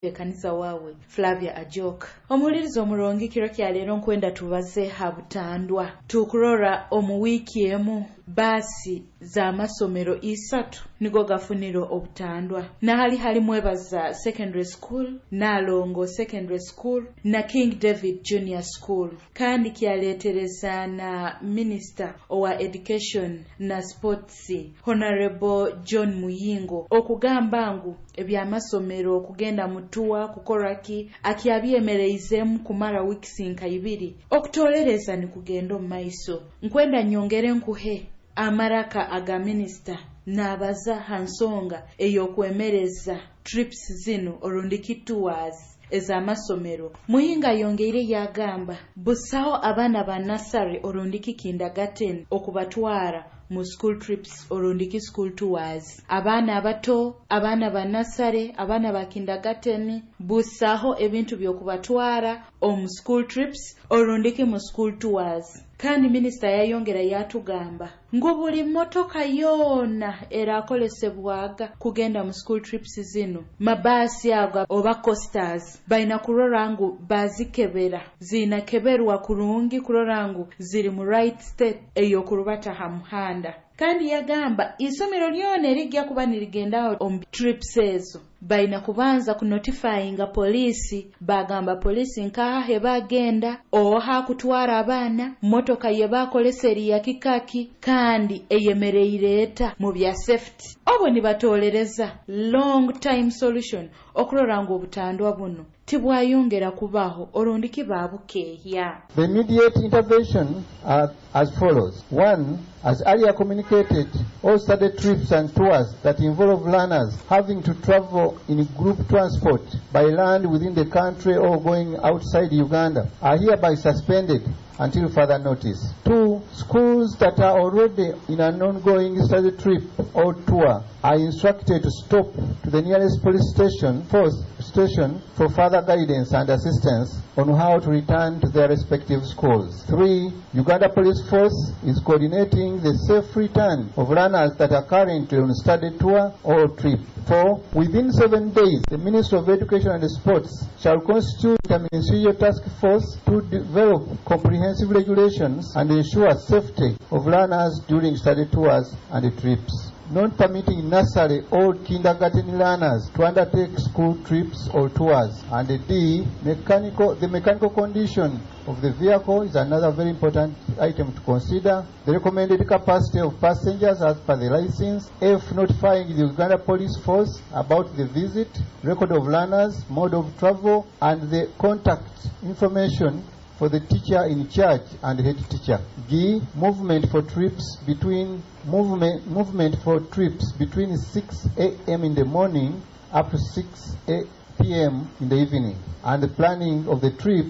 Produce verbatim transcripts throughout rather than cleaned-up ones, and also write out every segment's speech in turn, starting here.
Ekanisa waawe Flavia Ajok. Omuhuliriza omurungi, kiro kya leero nkwenda tubaze ha butandwa. Tukurora omu wiiki emu baasi z'amasomero isatu nigo gafunire obutandwa, nahali hali Mwebaza Secondary School, Nalongo Secondary School na King David Junior School. Kandi kyaleetereza na minisita owa Education na Sports, Honorable John Muyingo, okugamba ngu ebyamasomero okugenda mu tour kukoraki akyabyemereizemu kumara wiikisi nka ibiri okutolereza nikugenda omu maiso. Nkwenda nyongere nkuhe amaraka aga minisita naabaza ha nsonga ey'okwemereza trips zinu orundiki tours ez'amasomero. Muyingo ayongeire yagamba busaho abaana ba nursery orundiki kindergarten okubatwara mu school trips orundiki school tours. Abaana abato, abaana ba nursery, abaana ba kindergarten, busaho ebintu by'okubatwara omu school trips orundiki mu school tours. Kandi minisita yayongera yatugamba ngu buli motoka yoona erakolesebwaga kugenda mu school trips zinu, mabaasi ago oba coasters, balina kurora ngu bazikebera, zinakeberwa kurungi kurora ngu ziri mu right state ey'okurubata ha muhanda. Kandi yagamba isomero lyona erijja kuba nirigendaho omu trips ezo balina kubanza kunotifyinga poliisi, bagamba poliisi nkaha hebagenda, oha kutwara abaana, motoka yebakolesa eri yakikaki kandi eyemereire eta mu bya safety. Obo nibatolereza long time solution okurora ngu obutandwa buno tibwayongera kubaho orundiki babukeehya. The immediate intervention are as follows. One, as earlier communicated, all study trips and tours that involve learners having to travel in group transport by land within the country or going outside Uganda are hereby suspended until further notice. Two, schools that are already in an ongoing study trip or tour are instructed to stop to the nearest police station, force station for further guidance and assistance on how to return to their respective schools. Three, Uganda Police Force is coordinating the safe return of learners that are currently on study tour or trip. Four, within seven days, the Ministry of Education and Sports shall constitute a ministerial task force to develop comprehensive regulations and ensure safety of learners during study tours and trips. Not permitting nursery or kindergarten learners to undertake school trips or tours. And D, mechanical, the mechanical condition of the vehicle is another very important item to consider. The recommended capacity of passengers as per the license. F, notifying the Uganda Police Force about the visit, record of learners, mode of travel, and the contact information for the teacher in charge and head teacher. G, movement for trips between movement, movement for trips between six a m in the morning up to six p m in the evening, and the planning of the trip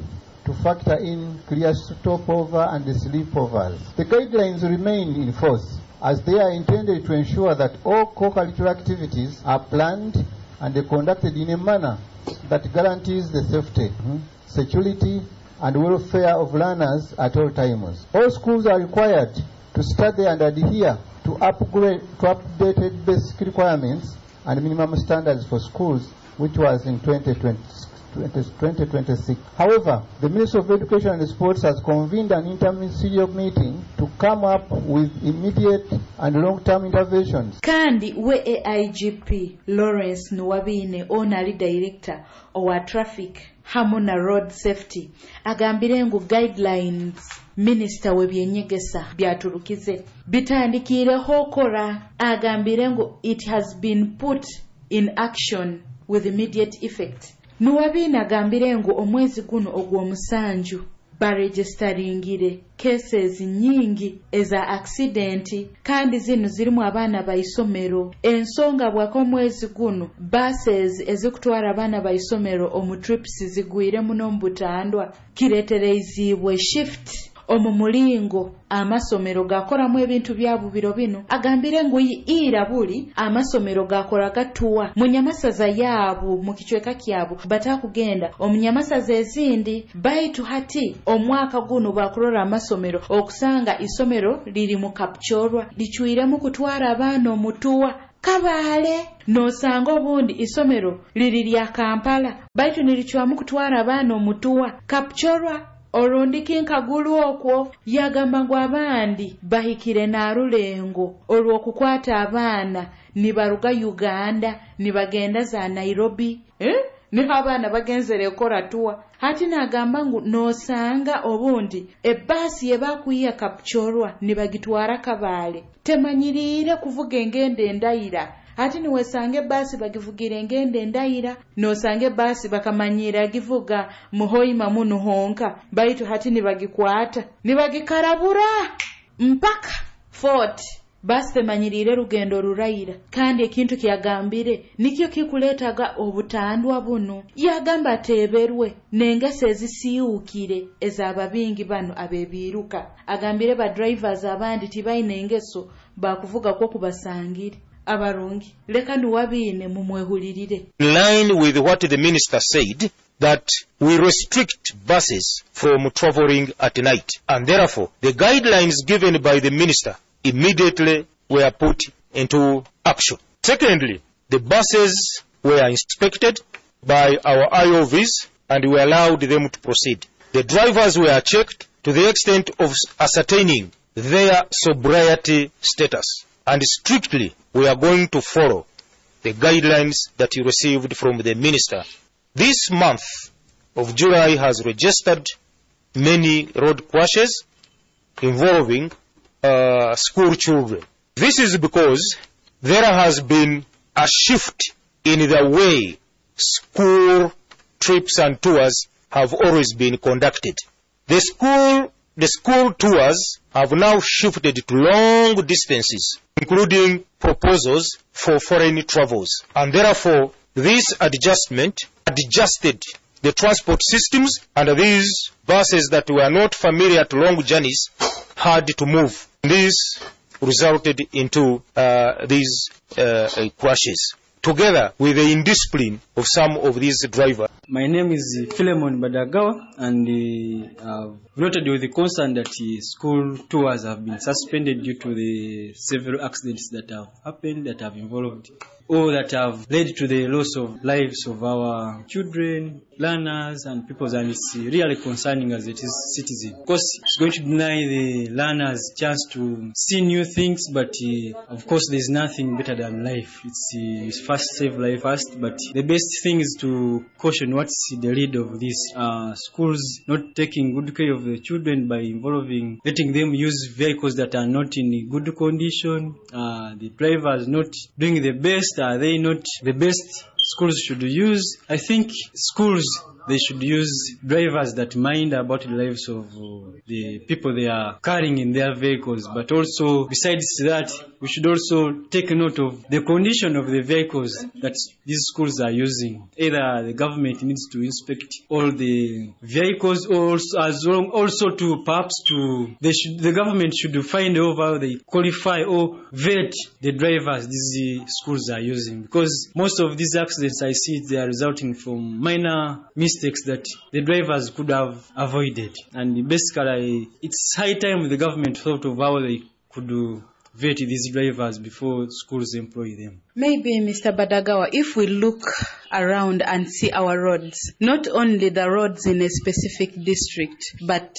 to factor in clear stopover and sleepovers. The guidelines remain in force as they are intended to ensure that all co-curricular activities are planned and conducted in a manner that guarantees the safety, security, and welfare of learners at all times. All schools are required to study and adhere to upgrade to updated basic requirements and minimum standards for schools, which was in twenty twenty, twenty twenty-six. However, the Ministry of Education and Sports has convened an interministerial meeting to come up with immediate and long-term interventions. Kandi we A I G P Lawrence Nuwabine, ono ali director owa traffic hamu na road safety, agambire ngu guidelines minisita w'ebyenyegesa byaturukize bitandikiireho okora. Agambire ngu it has been put in action with immediate effect. Nuwabine agambire ngu omwezi guno ogw'omusanju baregistaringire cases nyingi eza accident, kandi zinu zirimu abaana baisomero. Ensonga bwaka omwezi guno buses ezikutwara abaana baisomero omu trips zigwire muno mu butandwa, kireetereizibwe shift omu mulingo amasomero gakoramu ebintu byabo biro bino. Agambire ngu ira buli amasomero gakoraga tour mu nyamasaza yaabo mu kicweka kyabo, batakugenda omu nyamasaza ezindi, baitu hati omwaka guno bakurora amasomero okusanga isomero liri mu Kapchorwa licwiremu kutwara abaana omu tour. Kabale nosanga obundi isomero liri lya Kampala baitu niricwamu kutwara abaana omutuwa Kapchorwa orundi kinkagulu okwo. Yagamba ngu abandi bahikire n'arulengo olw'okukwata abaana nibaruga Uganda nibagenda za Nairobi, eh? Niho abaana bagenzere kukora tour. Hati nagamba ngu nosanga obundi ebbaasi yebakwiya Kapchorwa nibagitwara Kabale temanyiriire kuvuga engendo endaira. Hati niwesanga ebbaasi bagivugira engendo endaira, nosanga ebbaasi bakamanyira givuga muhoima munu honka, baitu hati nibagikwata nibagikarabura mpaka Fort. Baasi temanyiriire rugendo ruraira. Kandi ekintu kyagambire nikyo kikuleetaga obutandwa bunu. Yagamba ateeberwe n'engeso ezisiiwukire ez'ababingi bano abebiiruka. Agambire ba drivers abandi tibaine engeso bakuvuga kwo kubasangire. Abarungi leka nuwabiine mumwehulirire. In line with what the minister said, that we restrict buses from traveling at night, and therefore the guidelines given by the minister immediately were put into action. Secondly, the buses were inspected by our I O Vs and we allowed them to proceed. The drivers were checked to the extent of ascertaining their sobriety status, and strictly we are going to follow the guidelines that you received from the minister. This month of July has registered many road crashes involving, uh, school children. This is because there has been a shift in the way school trips and tours have always been conducted. The school, the school tours have now shifted to long distances, including proposals for foreign travels. And therefore, this adjustment adjusted the transport systems, and these buses that were not familiar to long journeys had to move. This resulted into, uh, these, uh, uh, crashes, together with the indiscipline of some of these drivers. My name is Philemon Badagawa, and, uh, I've noted with the concern that, uh, school tours have been suspended due to the several accidents that have happened, that have involved or that have led to the loss of lives of our children, learners, and people, and it's really concerning as a citizen. Of course, it's going to deny the learners chance to see new things, but, uh, of course, there's nothing better than life. It's, uh, it's first save life first, but the best thing is to caution what's the lead of this. Uh, schools not taking good care of the children by involving, letting them use vehicles that are not in good condition, uh, the drivers not doing the best. Are they not the best schools should use? I think schools, they should use drivers that mind about the lives of, uh, the people they are carrying in their vehicles. But also, besides that, we should also take note of the condition of the vehicles that these schools are using. Either the government needs to inspect all the vehicles, or also, as well, also to perhaps to, they should, the government should find over how they qualify or vet the drivers these schools are using. Because most of these accidents I see, they are resulting from minor mistakes that the drivers could have avoided. And basically, it's high time the government thought of how they could do vet these drivers before schools employ them. Maybe, Mister Badagawa, if we look around and see our roads, not only the roads in a specific district, but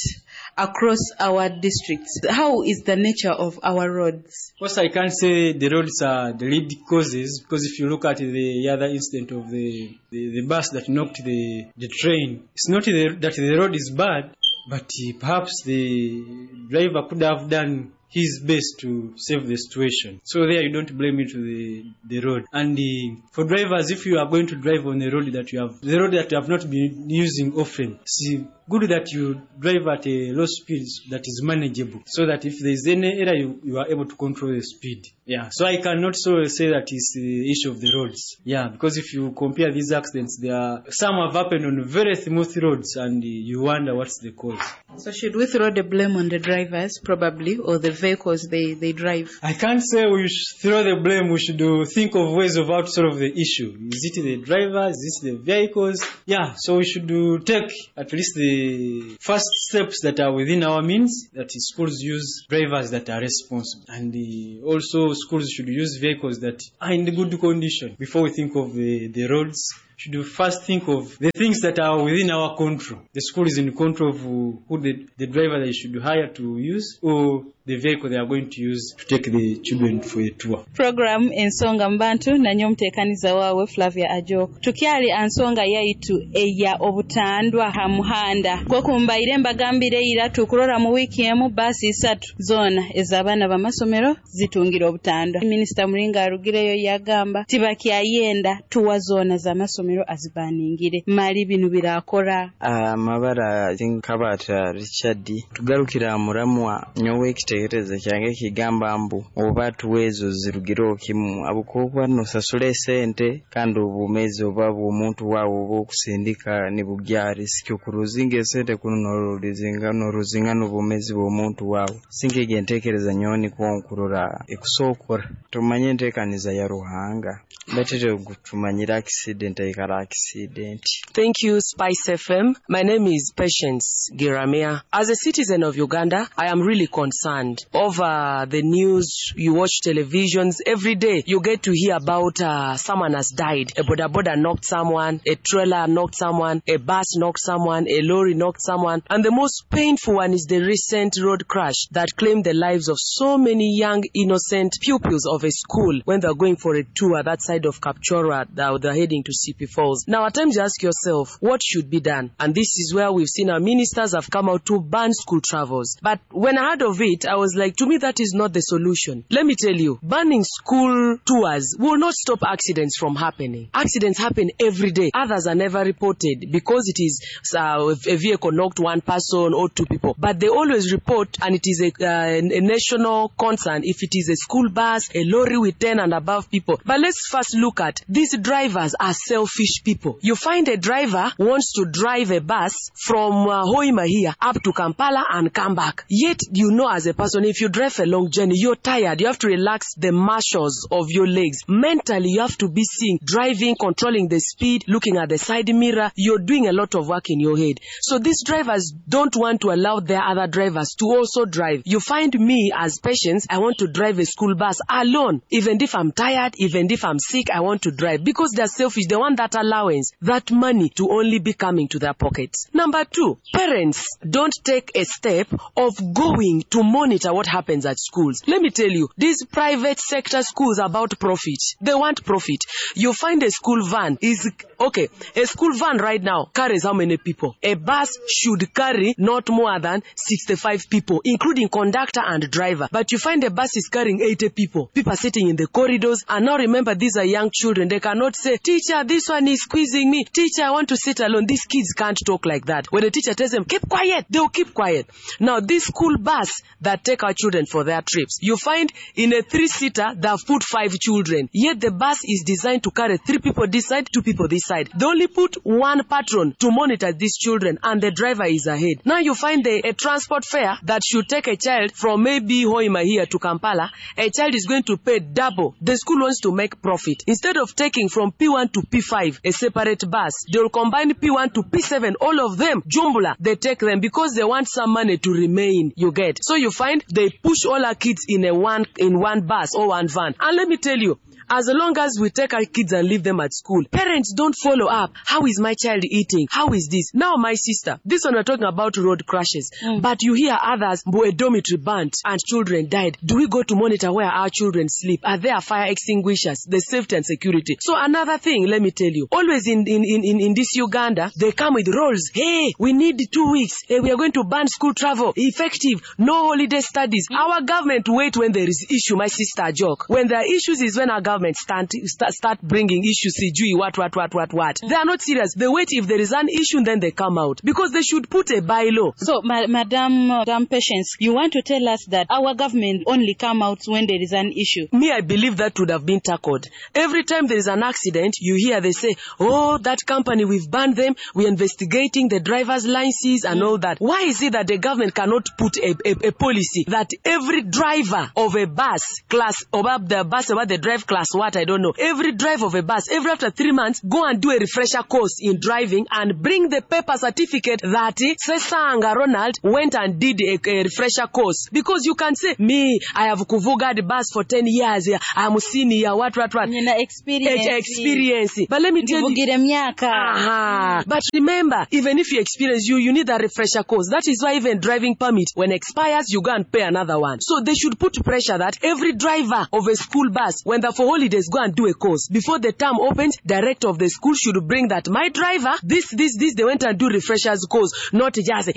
across our districts, how is the nature of our roads? Of course, I can't say the roads are the lead causes, because if you look at the other incident of the, the, the bus that knocked the, the train, it's not the, that the road is bad, but perhaps the driver could have done his best to save the situation. So there you don't blame it to the, the road. And the, for drivers, if you are going to drive on the road that you have, the road that you have not been using often, it's good that you drive at a low speed that is manageable, so that if there is any error, you, you are able to control the speed. Yeah. So I cannot so say that it's the issue of the roads. Yeah, because if you compare these accidents, there are, some have happened on very smooth roads, and you wonder what's the cause. So should we throw the blame on the drivers, probably, or the vehicles they, they drive? I can't say we should throw the blame. We should uh, think of ways of how to solve the issue. Is it the drivers? Is it the vehicles? Yeah, so we should uh, take at least the first steps that are within our means, that is schools use drivers that are responsible. And uh, also schools should use vehicles that are in good condition. Before we think of the, the roads, should we first think of the things that are within our control. The school is in control of who the, the driver they should hire to use or the vehicle they are going to use to take the children for a tour. Program Ensonga mu Bantu nanye omuteekaniza waawe Flavia Ajok. Tukyali ansonga yaitu eya obutandwa ha muhanda gwokumbaire mbagambire ira tukurora mu wiiki emu baasi isatu zoona ez'abaana b'amasomero zitungira obutandwa. Minisita Muringa arugireyo yagamba tibakyayenda tuwa zoona z'amasomero azibaningire mali binu birakora. Amabara Nkabata Richard tugarukira muramwa nyowe ekitekerezo kyange kigamba mbu oba tuwezo zirugireho kimu abukokuba nosasula esente kandi obumezi oba bw'omuntu waawe oba okusindika nibugya risiki okuruzinga esente kuno noruzinga noruzinga n'obumezi bw'omuntu waawe sinkege entekereza nyowe nikwo nkurora ekusookora tumanye enteekaniza ya Ruhanga batete tumanyire accident aikara accident. Thank you, Spice F M. My name is Patience Giramia. As a citizen of Uganda, I am really concerned over the news. You watch televisions every day. You get to hear about uh, someone has died. A boda boda knocked someone, a trailer knocked someone, a bus knocked someone, a lorry knocked someone. And the most painful one is the recent road crash that claimed the lives of so many young, innocent pupils of a school when they're going for a tour that side of Kapchorwa, they're heading to C P Falls. Now, at times you ask yourself, what should be done? And this is where we've seen our ministers have come out to ban school travels. But when I heard of it, I was like, to me, that is not the solution. Let me tell you, banning school tours will not stop accidents from happening. Accidents happen every day. Others are never reported because it is uh, a vehicle knocked one person or two people. But they always report, and it is a, uh, a national concern if it is a school bus, a lorry with ten and above people. But let's first look at these drivers are selfish people. You find a driver wants to drive a bus from uh, Hoima here up to Kampala and come back. Yet, you know, as a person, if you drive a long journey, you're tired. You have to relax the muscles of your legs. Mentally, you have to be seeing, driving, controlling the speed, looking at the side mirror. You're doing a lot of work in your head. So these drivers don't want to allow their other drivers to also drive. You find me as patients, I want to drive a school bus alone. Even if I'm tired, even if I'm sick, I want to drive because they're selfish. They want that allowance, that money to only be coming to their pockets. Number two, parents don't take a step of going to monitor what happens at schools. Let me tell you, these private sector schools are about profit. They want profit. You find a school van is, okay, a school van right now carries how many people? A bus should carry not more than sixty-five people, including conductor and driver. But you find a bus is carrying eighty people. People are sitting in the corridors. And now remember, these are young children. They cannot say, teacher, this one is squeezing me. Teacher, I want to sit alone. These kids can't talk like that. When the teacher tells them, keep quiet, they'll keep quiet. Now, this school bus that take our children for their trips, you find in a three-seater, they've put five children. Yet the bus is designed to carry three people this side, two people this side. They only put one patron to monitor these children, and the driver is ahead. Now you find a, a transport fare that should take a child from maybe Hoima here to Kampala. A child is going to pay double. The school wants to make profit. Instead of taking from P one to P five a separate bus, they'll combine P one to P seven, all of them, jumbla, they take them because they want some money to remain, you get. So you find they push all our kids in a one, in one bus or one van. And let me tell you, as long as we take our kids and leave them at school, parents don't follow up. How is my child eating? How is this? Now, my sister, this one we're talking about road crashes. Mm. But you hear others, a dormitory burnt and children died. Do we go to monitor where our children sleep? Are there fire extinguishers? The safety and security. So another thing, let me tell you, always in, in, in, in this Uganda, they come with rules. Hey, we need two weeks. Hey, we are going to ban school travel. Effective. No holiday studies. Mm. Our government wait when there is issue, my sister joke. When there are issues is when our government government start, start, start bringing issues, sijui what, what, what, what, what. They are not serious. They wait if there is an issue, then they come out. Because they should put a bylaw. So, ma- Madam, Madam Patience, you want to tell us that our government only come out when there is an issue? Me, I believe that would have been tackled. Every time there is an accident, you hear they say, oh, that company, we've banned them, we're investigating the driver's licenses and all that. Why is it that the government cannot put a, a, a policy that every driver of a bus class, about the bus, about the drive class, what, I don't know, every driver of a bus, every after three months, go and do a refresher course in driving and bring the paper certificate that Sesanga Ronald went and did a, a refresher course. Because you can say, me, I have kuvuga the bus for ten years, I'm senior, what, what, what. Nina experience. Experience. But let me tell you. Ndivugire myaka. Aha. But remember, even if you experience, you, you need a refresher course. That is why even driving permit, when expires, you go and pay another one. So they should put pressure that every driver of a school bus, when they're for holidays, go and do a course. Before the term opens, director of the school should bring that, my driver, this, this, this, they went and do refreshers course, not just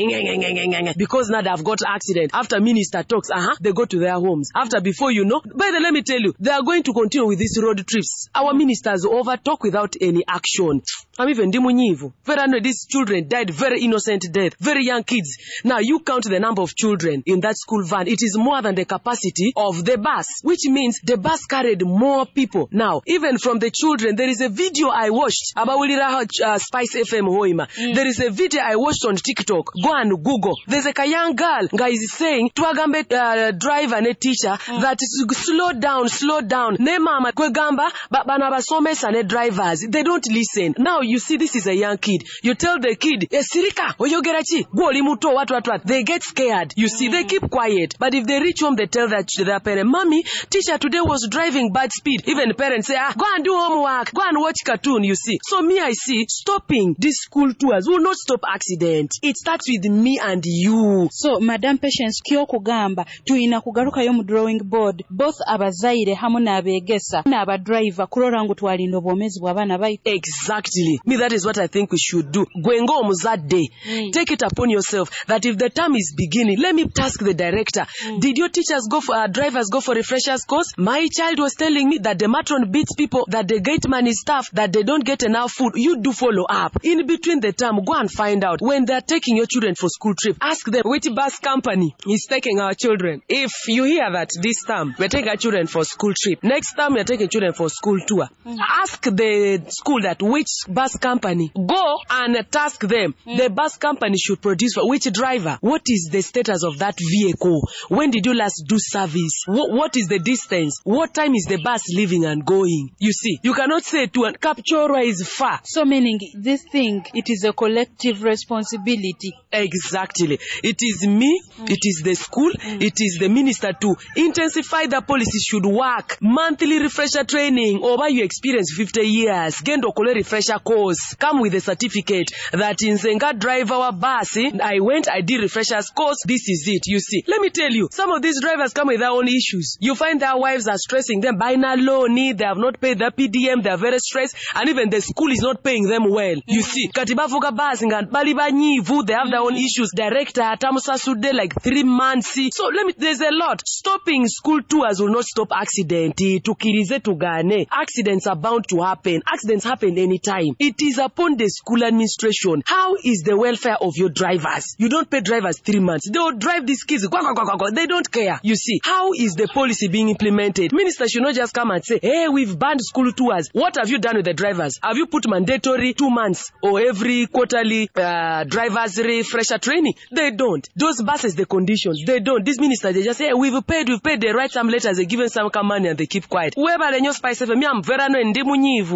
because now they've got accident. After minister talks, uh-huh, they go to their homes. After, before you know, by the, let me tell you, they are going to continue with these road trips. Our ministers over talk without any action. I'm even ndi munyivu. Very annoyed. These children died very innocent death. Very young kids. Now you count the number of children in that school van. It is more than the capacity of the bus, which means the bus carried more people. Now, even from the children, there is a video I watched. Abawulira uh, Spice F M Hoima. Mm. There is a video I watched on TikTok. Go and Google. There's a young girl nga is saying, twagambe uh, driver ne teacher mm. that slow down, slow down. Ne mama kwegamba bana basomesa ne drivers. They don't listen. Now you see, this is a young kid. You tell the kid, esirika, oyogera ki? Gwe oli muto, what, what, what. They get scared. You see, mm. they keep quiet. But if they reach home, they tell their, their parent, mommy, teacher today was driving bad speed. Even parents say, ah, go and do homework. Go and watch cartoon, you see. So me, I see, stopping these school tours will not stop accident. It starts with me and you. So, Madam Patience, ky'okugamba, tuyina kugarukayo mu drawing board, both abazaire hamu n'abeegesa n'abadriver kurora ngu twalinda obwomeezi bw'abaana baitu. Exactly. Me, that is what I think we should do. Gwe ng'omuzadde. Mm. Take it upon yourself that if the term is beginning, let me task the director. Mm. Did your teachers go for, uh, drivers go for refreshers course? My child was telling me that the matron beats people, that the gate man is tough, that they don't get enough food. You do follow up. In between the term, go and find out. When they're taking your children for school trip, ask them which bus company is taking our children. If you hear that this term, we're taking our children for school trip. Next term, we're taking children for school tour. Mm. Ask the school that which bus company. Go and task them. Mm. The bus company should produce for which driver. What is the status of that vehicle? When did you last do service? What, what is the distance? What time is the bus leaving and going? You see, you cannot say to an Kapchorwa is far. So meaning this thing, it is a collective responsibility. Exactly. It is me, mm. it is the school, mm. it is the minister to intensify the policy should work. Monthly refresher training over you experience fifty years. Genda okole refresher course. Come with a certificate that in Zenga drive our bus. I went, I did refreshers course. This is it. You see. Let me tell you, some of these drivers come with their own issues. You find their wives are stressing them. Buy now loan, they have not paid their P D M, they are very stressed, and even the school is not paying them well. You see, kati bavuga bus nga bali banyivu, they have their own issues. Director atamusasude like three months. So let me, there's a lot. Stopping school tours will not stop accident. Tukirize tugane. Accidents are bound to happen. Accidents happen anytime. It is upon the school administration. How is the welfare of your drivers? You don't pay drivers three months. They will drive these kids. Go, go, go, go, go. They don't care. You see, how is the policy being implemented? Minister should not just come and say, hey, we've banned school tours. What have you done with the drivers? Have you put mandatory two months or every quarterly uh, drivers refresher training? They don't. Those buses, the conditions, they don't. This minister, they just say, hey, we've paid, we've paid. They write some letters, they give them some money and they keep quiet.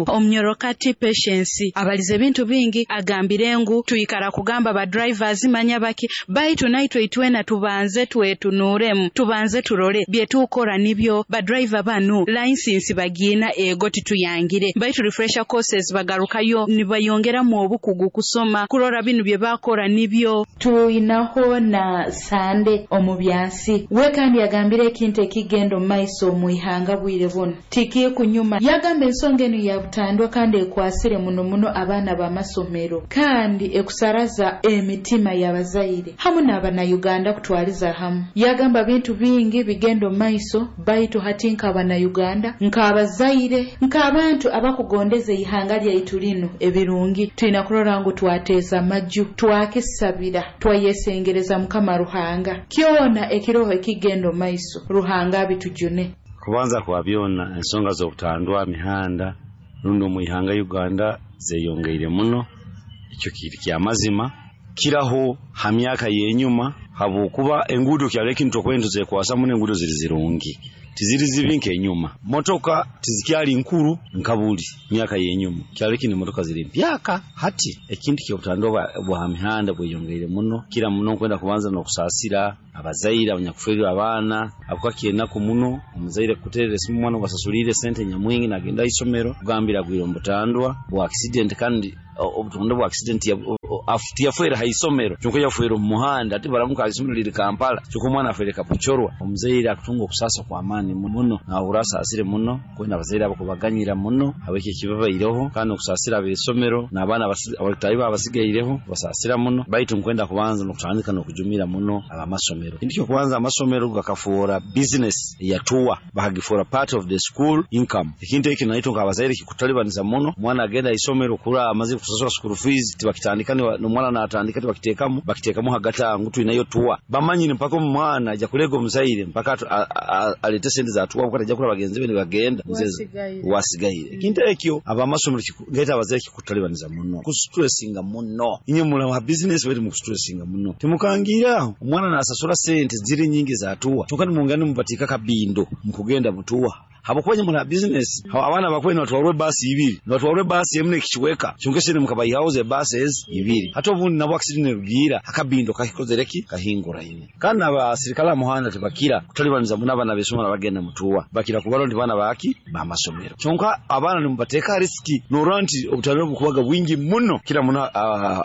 Omnyorokati Patience abalize ebintu bingi agambire ngu tuyikara kugamba ba drivers manya baki baitu naitwe itwena tubanze twetunuuremu tubanze turole bye tukora nibyo ba driver banu license bagina ego tituyangire baitu refresher courses bagarukayo nibayongeramu obukugu kusoma kurora binu bye bakora nibyo. Tuyinaho na Sande omubyansi we kandi yagambire ekintu ekigenda maiso muihanga bwire buno tiki kunyuma yagamba ensonga eno yabutandwa kandi ekwasire muno muno abaana b'amasomero kandi ekusaraza emitima y'abazaire hamu n'abannayuganda kutwaliza hamu. Yagamba bintu bingi bigenda maiso baitu hati nk'abannayuganda Uganda, nk'abazaire, nk'abantu abakugondeza ihanga lyaitu lino ebirungi, tulina kurora ngu twateeza amaju, twakisabira, twayesengereza Mukama Ruhanga. Kyona ekiroho ekigenda maiso, Ruhanga abitujune. Kubanza kwa byona ensonga z'obutandwa mihanda rundi omu ihanga Uganda zeyongeire muno, ekyo kiri kyamazima kiraho ha myaka y'enyuma, habwokuba enguudo kyali ekintu okwenda tuzekwasa muno, enguudo ziri zirungi tiziri zibi nk'enyuma. Motoka tizikyali nkuru nka buli myaka y'enyuma, kyali kini motoka ziri mpyaka. Hati ekintu ky'obutandwa bwa mihanda bweyongeire muno kira muno nkwenda kubanza n'okusaasira abazaire abanyakuferwa abaana, abuka kyenaku muno omuzaire kuterera esimu omwana obasasulire sente nyamwingi nagenda isomero kugambira agwire omu butandwa bwa accident, kandi obutandwa bwa accident tiyafuera ha isomero kyonka yafuera omu muhanda, ate baramuka isomero liri Kampala kyonka omwana afuere Kapuchorwa. Omuzaire akutunga okusasa kwa maani muno nahura asaasire muno kwenda abazaire abo kubaganyira muno habwekyo ekibabaireho, kandi okusasira ab'isomero n'abaana abatayi babasigaireho basaasira muno. Baitu nkwenda kubanza n'okutandika n'okujumira muno abamasomero. Kintu kyokubanza amasomero gakafuura business yatuwa bakagifuura part of the school income. Ekintu eki naitwe nk'abazaire kikutalibaniza muno, omwana agenda isomero kura amaze kusasura school fees tibakitandika n'omwana natandika tibakiteekamu bakiteekamu hagati ngu twinayo tuwa bamanyire mpaka omwana ajja kulega omuzaire mpaka alete sente za tuwa kuko ajja kula bagenzi be nibagenda wasigaire. Ekintu ekyo abamasomero ngaita abazaire kikutalibaniza muno kustressinga muno, inye mula business bali mu kustressinga muno timukangiraho omwana nasasura sente ziri nyingi za tuwa kyonka nimungana mubatika kabindo mukugenda mutuwa habukwenya muna business abaana bakwena batwarwe basi ibiri batwarwe basi emne kichweka kyonka sente mukabayihawo ze buses ibiri hata obundi nabwo accident rugira akabindo kakikozereki kahingura ine. Kandi abasirikale muhanda tebakira kutalibaniza muna abana besoma bagenda mutuwa bakira kubalo ndi bana baki bamasomero kyonka abaana nimubateka riski norora nti obutalo bukubaga bwingi muno kila muna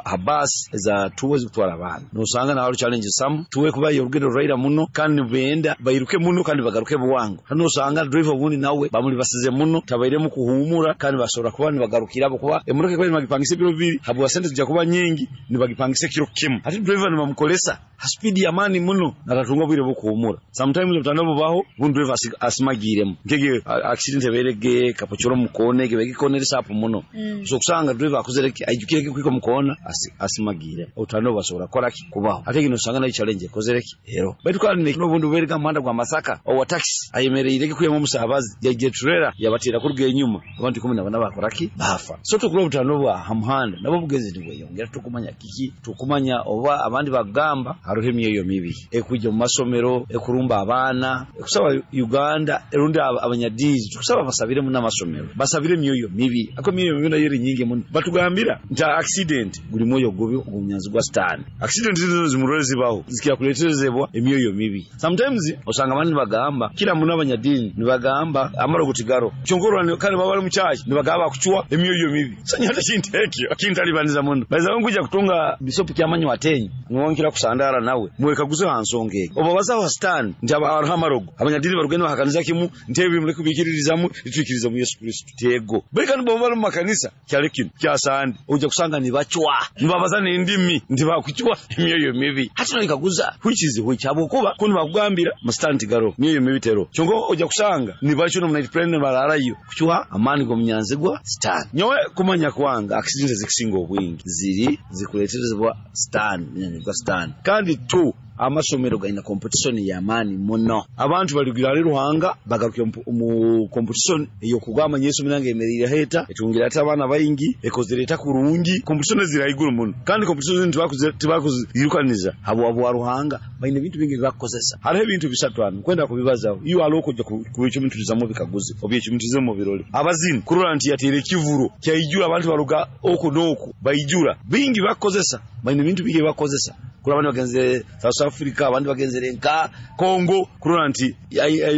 ha bus za tuwa zikutwara abaana nosanga na challenge some tuwe kuba yorugendo ruraira muno kandi benda bairuke muno kandi bagaruke bwangu hano osanga driver obundi nawe bamuli basize muno tabairemu kuhumura kandi basobora kuba nibagarukira abo kuba emotoka kuba nibagipangisa ebiro bibiri habwa sente zijja kuba nyingi nibagipangisa ekiro kimu ate driver nibamukolesa ha speed ya mani muno natatunga bwire bukuhumura. Sometimes obutandwa bubaho bundi driver asimagiremu nkege accident eberege kapochoro mukone gebege kone sapu muno mm. So kusanga driver akozere aijukire kwiko mukona asimagire obutandwa basobora kola ki kubaho ate gino usanga nayo challenge ekozere ki ero baitu kandi n'obundi buberega muhanda gwa Masaka owa taxi ayemereire kuyemo omusabazi yaje trailer yabatira kuruga enyuma abantu kumi na bana bakora ki bafa. So tukura obutandwa bwa hamuhanda nabo bugezi nibweyongera tukumanya kiki tukumanya oba abandi bagamba haruho emyoyo mibi ekujja mu masomero ekurumba abaana ekusaba Uganda erundi abanyadiini tukusaba basabire mu namasomero basabire emyoyo mibi ako emyoyo mibi nayo eri nyingi muno batugambira nti accident guli mwoyo gubi ogunyanzi gwa sitani accident zino zimurore zibaho zikiyakuleterezebwa emyoyo mibi. Sometimes osanga abandi bagamba kila muno abanyadiini nibagamba amaro kutigaro kyonkorwa kandi baba bali mu church nibagamba kuchwa emyoyo mibi sanya hata kintu ekyo kintalibaniza muno baiza nguja kutunga bisopu kyamanyi watenyi nwonkira kusandara nawe mwekaguze hansonga egi oba bazaho sitani nti hariho amarogo abanyadiini barugenda bahakaniza kimu nti ebi muleke kubikiririzamu itwikiriza mu Yesu Kristo tego bali kandi bo bali mu makanisa kyali kino kyasande ojja kusanga nibachwa nibabaza n'endimi nti bakuchwa emyoyo mibi hati noikaguza which is which habwokuba kundi bakugambira musitani tigaro myoyo mibi tero kyonka ojja kusanga nibachwa no night plan bararayo kuchwa amani g'omunyanzigwa sitani. Nyowe kumanya kwanga accident zikisinga obwingi ziri zikuleterezebwa sitani munyanzigwa sitani kandi tu amasomero gaina competition ya amani muno abantu baligira ali Ruhanga bagaruke mu competition eyokugamba Yesu minange emerire heta etungira ata abana bayingi ekozereta kurungi competition zira iguru muno kandi competition tibakuze tibakuzirukaniza habo abo Ruhanga baine bintu bingi bakozesa hariho ebintu bisatu ano kwenda kubibazaho iyo aloko kujja kubicumiturizamu bikaguze obyecumiturize mu birole abazini kurora nti yatere kivuro kyaijura abantu baruga oko noko baijura bingi bakozesa baine bintu bingi bakozesa kula abandi bagenzere South Africa abandi bagenzere nka Congo kurora nti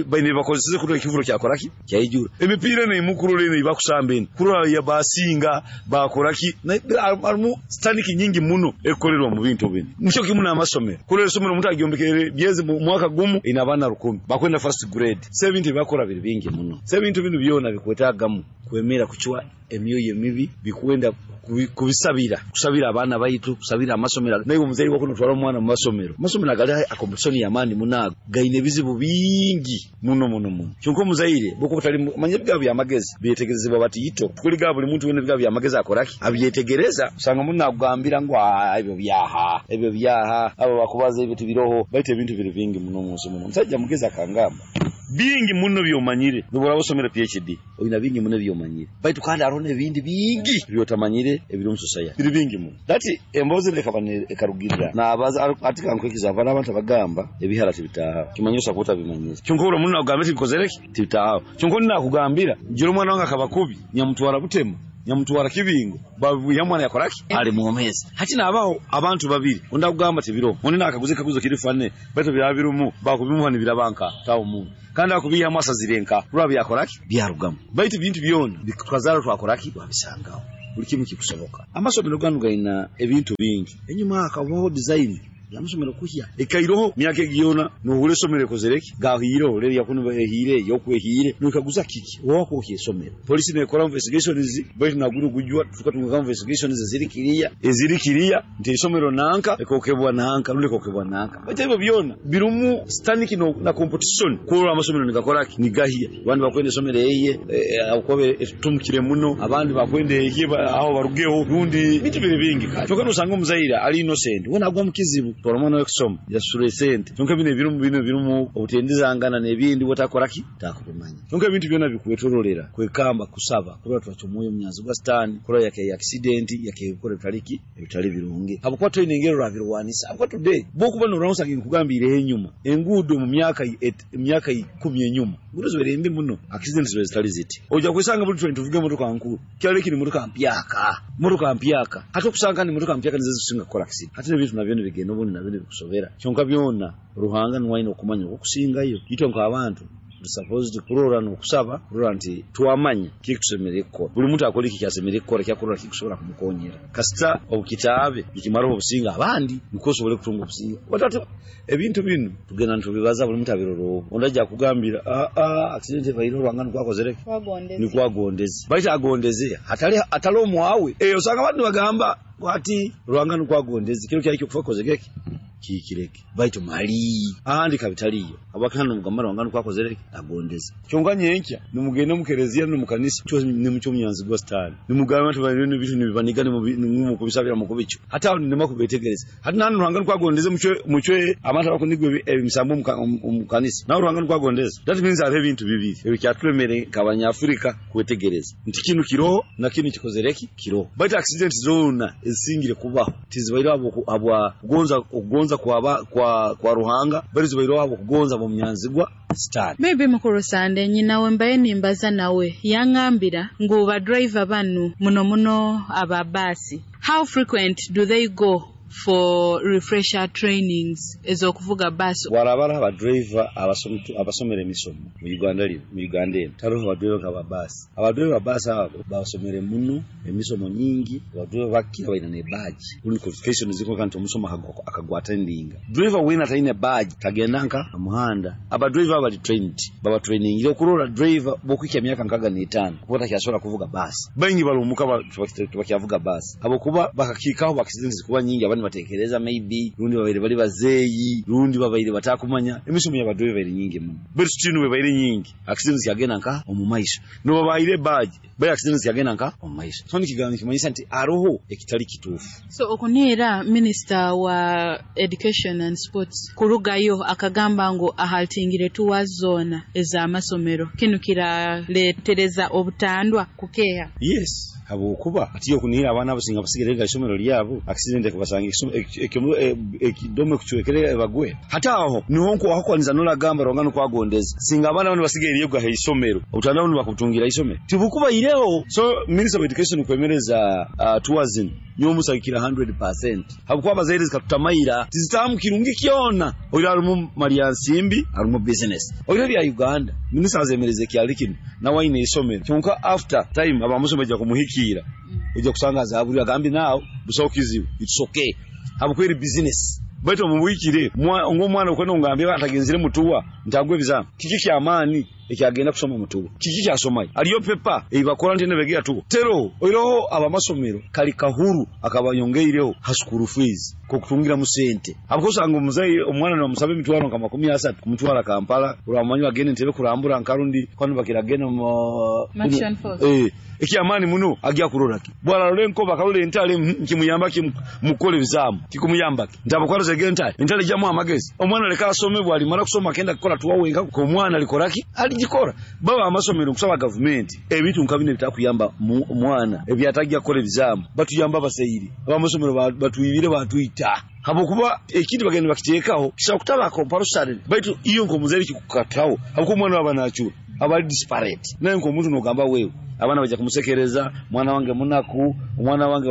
baine bakozesa kurora ekivuro kyakoraki kyaijura emipira ne mukurore ne bakusambeni kurora ya basinga bakoraki arimu staniki nyingi muno ekolerwa mu bintu bino nico kimu n'amasomero kurora isomero omuntu agyombekere byeze mu mwaka gumu ina abana rukumi bakwenda first grade se bintu bakora biri bingi muno se bintu bino byona bikwetagamu kwemera kuchwa emyoyo emibi bikwenda kubisabira kusabira abaana baitu kusabira amasomero naye omuzaire wako notwara omwana mu masomero masomero agali akompetishoni y'amaani munago gaine ebizibu bingi muno muno muno kyonka omuzaire bwokuba otali manya ebigabo by'amagezi byetegerezebwa batiito kuliga buli muntu wena ebigabo by'amagezi akoraki abyetegereza osanga muno akugambira ngu ebyo byaha ebyo byaha abo bakubaza ebyo tibiroho baitu ebintu biri bingi muno munsi muno omusajja mugezi akangamba bingi muno byomanyire nobora osomera P H D oyina bingi muno byomanyire baitu kandi hariho n'ebindi bingi byotamanyire ebiri omu society biri bingi muno dati embozi lekaba ekarugirira nabaza atika nkwekiza abana abantu abagamba ebihara tibitaha kimanye osapota bimanyire kyonka ora muno agamba tibikozereki tibitaha kyonka nakugambira njira omwana wange akaba kubi nyamutwara butema nyamutwara kibingo babu yamwana yakoraki ali muomezi hati nabaho abantu babiri onda kugamba tibiro oni nakaguze kaguzo kirifane baitu byabirumu bakubimuha nibirabanka tawo mu kandi akubiya amasazirenka rwa byakoraki byarugamu baitu bintu byona bikazara twakoraki babisangaho buli kimu kikusoboka amasomero ganu gaina ebintu bingi enyuma akabaho design yamusomero kuhya ekairoho myaka egiyona nohule somero kozereki gahiro reri yakuno ehire yokwehire nukaguza kiki wako okye somero polisi nekora investigations baitu naguru kujua tukatunga investigations eziri kiriya eziri kiriya nti isomero nanka ekokebwa nanka rule kokebwa nanka baitu ebyo byona birumu staniki no, na competition kurora amasomero nigakora nigahia abandi bakwenda somero eye akobe tumkire muno abandi bakwenda eye aho barugeho rundi bitu biri bingi kale kyokka nosanga omuzaire ali innocent wona agwa mukizibu twara okusoma yasura esente kyonka bino ebirumu bino birumu obutendizangana n'ebindi wotakoraki takubimanya kyonka ebintu byona bikwetorolera kwekamba kusaba kurora twacyomoyo munyanzi gwa sitani kurora yake accident yake bikora bitaliki ebitali birungi habwokuba toine engero rabirwanisa habwokuba today bokuba noronsa nkugambire enyuma enguudo mu myaka emyaka ikumi enyuma ngudo zibereye mbi muno accident zibe zitali ziti ojja kwesanga buli twenty tuvuge motoka nkuru kyali kiri motoka mpyaka motoka mpyaka hata okusanga ni motoka mpyaka nizo zisinga kukora accident hati n'ebintu nabyo nibigenda obundi nabyo nibikusobera kyonka byona Ruhanga niwe okumanya okusingayo itwe nk'abantu supposed kurora n'okusaba kurora nti twamanya kiki tusemerere kukora buli muntu akora iki kyasemerere kukora kyakurora kikusobola kumukonyera kasita obukitaabe nikimara obusinga abandi niko osobole kutunga obusinga watatu ebintu bino tugenda ntubibaza buli muntu abiroro ondajja kugambira a a accident ebaire Ruhanga nikwakozereke nikwagondeze baita agondeze hatali atali omwawe eh osanga abantu bagamba ati Ruhanga nikwagondeze kiro kyali kyokufa kozegeke kikireke baitu mali ahandi kabitaliyo abakana mugamba Ruhanga nikwakozereke agondeze kyonka nyenkya nimugende mukerezia no mukanisa cyo nimucyo munyanzi gwa sitani nimugamba nti banene bintu nibibaniga nimu kubisabira mukubicho hata aho ndima kubetegereza hati nanu Ruhanga nikwagondeze mucyo mucyo abantu abakunigwe emisambo mukanisa nawe Ruhanga nikwagondeze that means ari ebintu bibiri ebikyaturemere nk'abanyafrika kwetegereza nti kinu kiroho na kinu kikozereki kiroho baitu accident zona ezisingire kubaho tizibaire abo abwa kugonza okugonza kwa kwa kwa Ruhanga bali zibaire abo kugonza mu munyanzigwa sitani maybe mukuru Sande nyina we mbaye nimbaza nawe yangambira ngu ba driver banu muno muno aba basi how frequent do they go for refresher trainings ezokuvuga basi warabara aba driver abasomere emisomo mu Uganda lino mu Uganda eno tariho aba driver aba basi aba driver basi abo basomere muno emisomo nyingi aba driver bakira baina ne badge kuli qualification ziko kanti omusoma akagwata ndinga driver wina taine badge tagenda nka muhanda aba driver bali trained baba training ile kurora driver bokwika myaka nkaga n'etano kuba takyasobola kuvuga basi bangi balumuka bakyavuga basi abo kuba bakakikaho accidents kuba nyingi abandi batekereza maybe rundi babaire bali bazeeyi rundi babaire batakumanya emisomo y'abadriver baire nyingi muno bali tutinu baire nyingi accidents yagenda nka omu maiso no babaire badge bali accidents yagenda nka omu maiso so nikigamba kimanyisa nti aroho ekitali kituufu so okunera minister wa education and sports kurugayo akagamba ngu ahaltingire tuwa zona ez'amasomero kinu kiraletereza obutandwa kukeha yes habwokuba atiyo kunira abaana abasinga basigere isomero lyabo accident ekubasanga ekidome kuchwekere bagwe hata aho niho nko aho nolagamba Ruhanga nikwagondeza singa abaana bano basigere yoga isomero obutandwa nibakutungira isomero tibukuba ireho so minister of education kwemereza uh, tourism nyomusakira one hundred percent habwokuba abazaire zikatutamaira tizitamu kirungi kyona oyo alimu Mariansimbi alimu business oyo bya Uganda minister azemereze kyali kino nawe aine isomero kyonka after time abamusoma ja kumuhikira ojja kusanga zaburi agambi nawo busawo kizibu it's okay habukweri business baitu mubwikire ng'omwana okwenda ngambye atagenzire mutuwa ntagwe bizamu kiki kyamaani ekyagenda kusoma mutubo kiki kyasomayo aliyo pepa eibakora nti nebegera tubo tero oiroho abamasomero kali kahuru akabayongeireho ha school fees kokutungira mu sente abukosanga omuzayi omwana namusabe emitwaro nka makumi asatu kumutwara Kampala uramanyi bagende ntebe kurambura nkarundi kwanu bakiragenda mu eh ekyamani muno agya kurora ki bwala lenko bakalole entale nkimuyamba ki mukole bizamu kikumuyamba ki ndabukwara zege entale entale jamu amagezi omwana leka asome bwali mara kusoma kenda kukola tuwawenga ko omwana likoraki alijikora baba amasomero kusaba government ebintu nkabine bitakuyamba omwana ebyatagia kukole bizamu batuyamba baseyiri abamasomero batuyibire batuita habokuba ekindi bagenda bakiteekaho kisa kutaba compulsory baitu iyo nkomuzeri kikukataho habuko omwana wabanachura abali disparate naye nkomuntu nogamba wewe abana baja kumusekereza mwana wange munaku omwana wange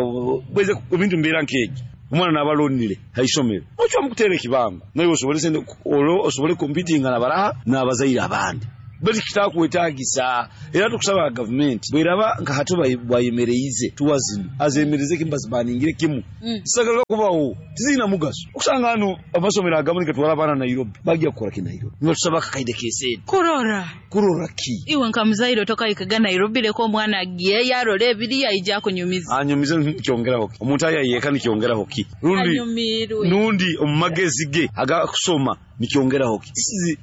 bweze ebintu mbera nkeji omwana nabalonire haisomero ocho mukutera kibango naye osobole sende olo osobole competing na baraha nabazaira abandi bali kitakuwetagisa era tukusaba government bweraba nka hatu bayemereize tuwazino azemereze kimbazi baningire kimu mm. Sagala kubawo tizina mugaso okusanga hano amasomero agamunika twala bana Nairobi bagiya kukora ki Nairobi nibatusaba kakaide kesedi kurora kurora ki iwe nka muzairo toka ikaga Nairobi leko omwana agiye yarole ebiri yaija kunyumiza anyumiza nikyongeraho ki omuntu ayayeka nikyongeraho ki rundi nundi omumagezi ge aga kusoma nikyongeraho ki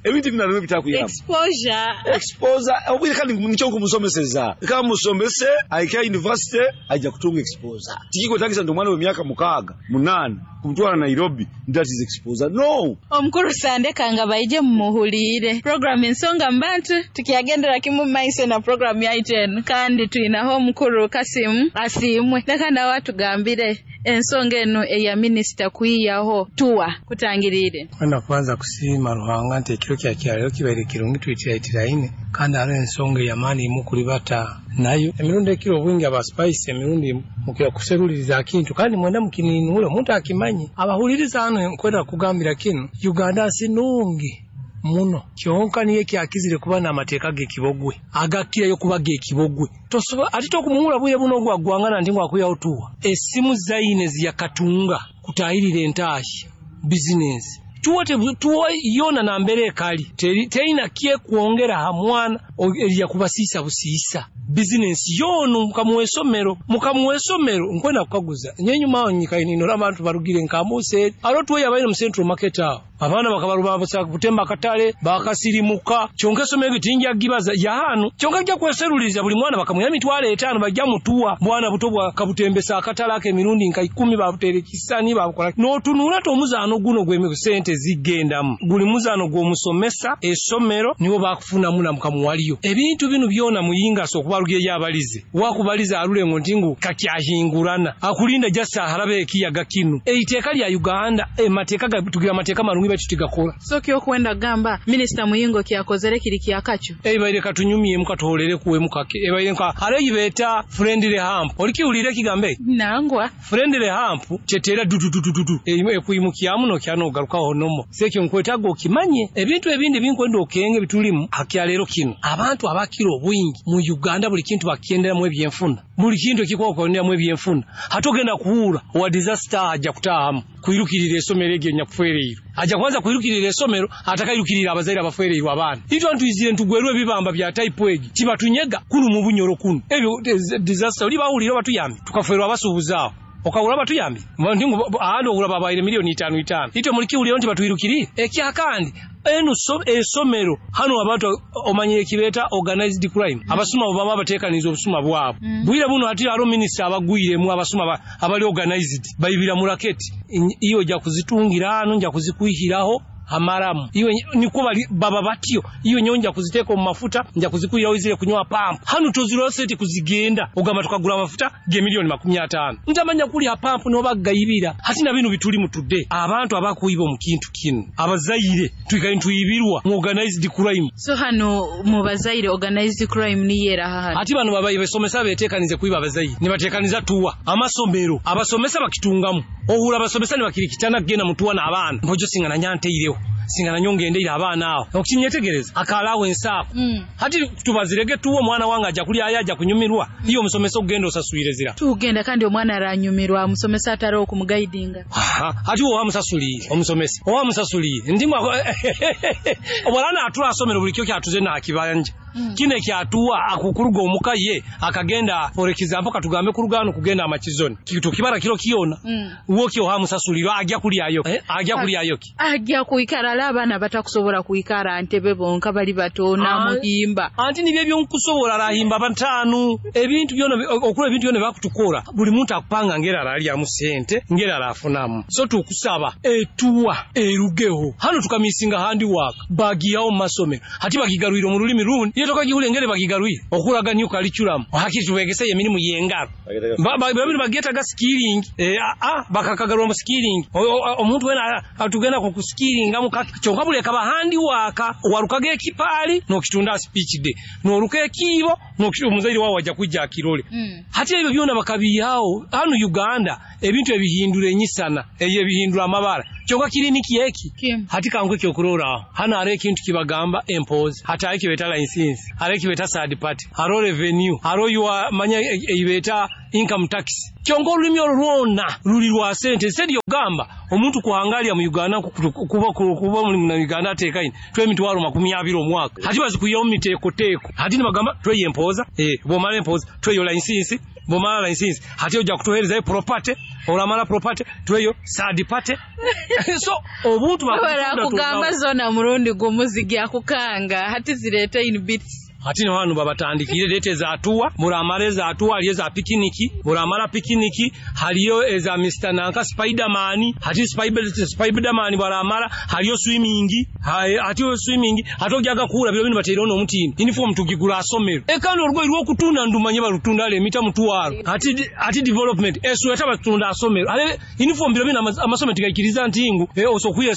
ebintu binarwe bitakuyamba exposure exposure obwire kandi nicho kumusomeseza kama musomese aika university aija kutunga exposure tikiko tagisa ndo mwana we myaka mukaga munane kumtwara Nairobi that is exposure no omukuru sandeka nga baije mumuhulire program ensonga mbantu tukiagendera kimu maiso na program ya iten kandi tuinaho omukuru Kasimu asimwe leka nawe atugambire ensonga eno eya minister kuiyaho tuwa kutangirire kwenda kubanza kusiima Ruhanga nti ekiro kya kyalero kibaire kirungi twitiraitiraine kandi hariho ensonga ey'amaani mukulibata nayo emirundi ekiro obwingi aba spice emirundi mukira kuseruliriza akintu kandi mwenda mukininule omuntu akimanyi abahuliriza hano nkwenda kugambira kinu Uganda sinungi muno kyonka niye kyakizire kuba n'amateeka g'ekibogwe agakirayo kuba g'ekibogwe tosobola ate tokumuwula bwire buno ogwagwangana nti ngwakuyawo tuwa esimu zaine ziyakatunga kutahirira entaahi bizinesi tuwa tuwa yona nambere ekali terina kyekwongera ha mwana erya kubasiisa busiisa bizinesi yono mukamuwesomero mukamuwesomero nkwenda kukaguza nyenyuma awo nyikaininola abantu barugire nkamuse alo tuwe yabaire mu central market awo abaana bakabaruba butemba akatale bakasirimuka kyonka esomero tinja gibaza yahano kyonka ajja kweseruliza buli mwana bakamuya emitwalo etaano bajja mutuwa bwana buto bwa kabutembesa akatale ake emirundi nka ikumi babutere kisani babukola n'otunula tomuzaano guno gwe sente zigendamu guli muzaano gw'omusomesa esomero nibo bakufunamu na mukamuwaliyo ebintu bino byona muyinga so okubalugiye yabalize wakubaliza alulengo ntingu kakyahingurana akulinda jasa harabe ekiyaga kinu eiteeka lya Uganda emateeka tugira amateeka marungi bakitigakora so kyo kwenda gamba minister Muyingo kyakozere kiri kyakacho ebaire katunyumye mukatuholere kuwe mukake ebaire nka hare yibeta friendly hump olikiulire kigambe nangwa friendly hump chetera du du du du du ekuimukiamu no kyano garukaho nomo sekyo nkwetago okimanye ebintu ebindi binkwenda okenge bitulimu hakyalero kino abantu abakira obwingi mu Uganda buli kintu bakiendera mu ebyenfuna buli kintu ekikwakonera mu ebyenfuna hatogenda kuwura wa disaster ajja kutahamu kuirukirira esomero egyo nyakufereiro ajja kwanza kuirukirira esomero atakairukirira abazaire abafereiro abaana itwa ntwizire ntugwerwe ebibamba bya type egi kibatunyega kunu mu bunyoro kunu ebyo disaster oli bawulira batuyambi tukaferwa abasuubuzaawo okawula batuyambi ndingu ahandi ogula babaire milioni itano itano itwe mulikiwulira nti batwirukiri ekyakandi eno so esomero hano abantu omanye ekibeta organized crime abasuma bo baba batekaniza obusuma bwabo mm. Bwira buno ati aro minister abagwire mu abasuma abali organized bayibira mu raketi iyo ja kuzitungira hano nja kuzikuihiraho amaramu iwe niko bali baba batyo iyo nyonja kuziteka mu mafuta nja kuzikuiraho izire kunywa pamp hano toziroseti kuzigenda ogamba tukagula amafuta ge milioni makumi atano ntamanya kuli ha pamp no bagayibira hati na binu bituli mutudde abantu abakuiba mu kintu kino abazaire tuikaye ntuyibirwa mu organized crime so hano mu bazaire organized crime ni yera hano ati bano babaye besomesa betekanize kuiba abazaire ni batekaniza tuwa amasomero abasomesa bakitungamu ohura abasomesa ni bakirikitana gena mutuwa na abana mpojo singana nyante ireho Singa nanyo ngendeire abaana aho. Okinyetegereza akalawo ensaako. Mm. Hati tubazirege tuwo omwana wange ajja kulya ayo ajja kunyumirwa. Iyo omusomesa okugenda osaswire zira. Tugenda kandi omwana aranyumirwa omusomesa atari okumuguidinga. Aha, hati wowe amusasuliire omusomesa. Owa amusasuliire. Ndimu obwalana atula asomero buli kyo kyatuze n'akibanja. Mm. Kine kyatuwa akukuruga omuka ye akagenda for example katugambe kurugano kugenda amachizoni. Kitu kibara kiro kiyona. Mm. Woki oha musasuliro ajja kulyayo. Eh, ajja kulyayo ki? Ajja kuikara ala abaana batakusobola kuikara ntebe bonka bali batona Ah. muhimba. Anti nibyo byonkusobola rahimba bantanu ebintu byona okula ebintu byona bakutukora buli muntu akupanga ngera aralyamu sente ngera arafunamu so tukusaba etuwa erugeho hano tukamisinga handi work bagiyawo mu masomero hati bagigarwire mu rulimi rundi iyo tokagihule ngere bagigarwire okuraga new curriculum hakiri tubegese emirimu yengaro Ba- ba- babiri bagetaga skilling eh a a bakakagarwa mu skilling O- o- omuntu wena atugenda ku skilling amu kyonka buleka bahandi waka warukaga ekipali nokitunda speech day noruka ekibo nokitu omuzaire wawe wajja kujja akirole Mm. hati ebyo byona bakabiyawo hano Uganda ebintu ebihindura enyisana eyo ebihindura amabara kyonka kiriniki eki Kim. hati kankwe kyokurora hano hariho ekintu kibagamba empozi hati hariho ekibeta license hariho ekibeta third party hariho revenue hariho your manya eibeta income tax kyonka olulimi olwo lwona luli lwa sente sente yogamba omuntu kuhangalya mu Uganda ku- ku- kuba kuba mu na Uganda ateekaine twemitwalo makumi abiri omwaka hati bazikuyawo mu miteekoteeko hati nibagamba tweye empoza eh bwomala empoza tweyo license bwomala license hati ojja kutuheerezayo property olamala property tweyo third party so obuntu Bara kugamba zona murundi gumu zigya kukanga hati zireta in bits. Hati no hano babatandikire lete ezatuwa muramara ezatuwa haliyo eza pikiniki muramara pikiniki haliyo eza Mister Nanka Spiderman hati Spider Spiderman baramara haliyo swimming hai- hati yo swimming hati ojaga kuula biro bino bateire ono omutini uniform tugigula asomero ekano orugoyi rw'okutunda ndumanye barutunda ale emita mutwaro hati hati development esweta batunda asomero ale uniform biro bino amas- amasomero tigaikiriza ntingu e, osokuye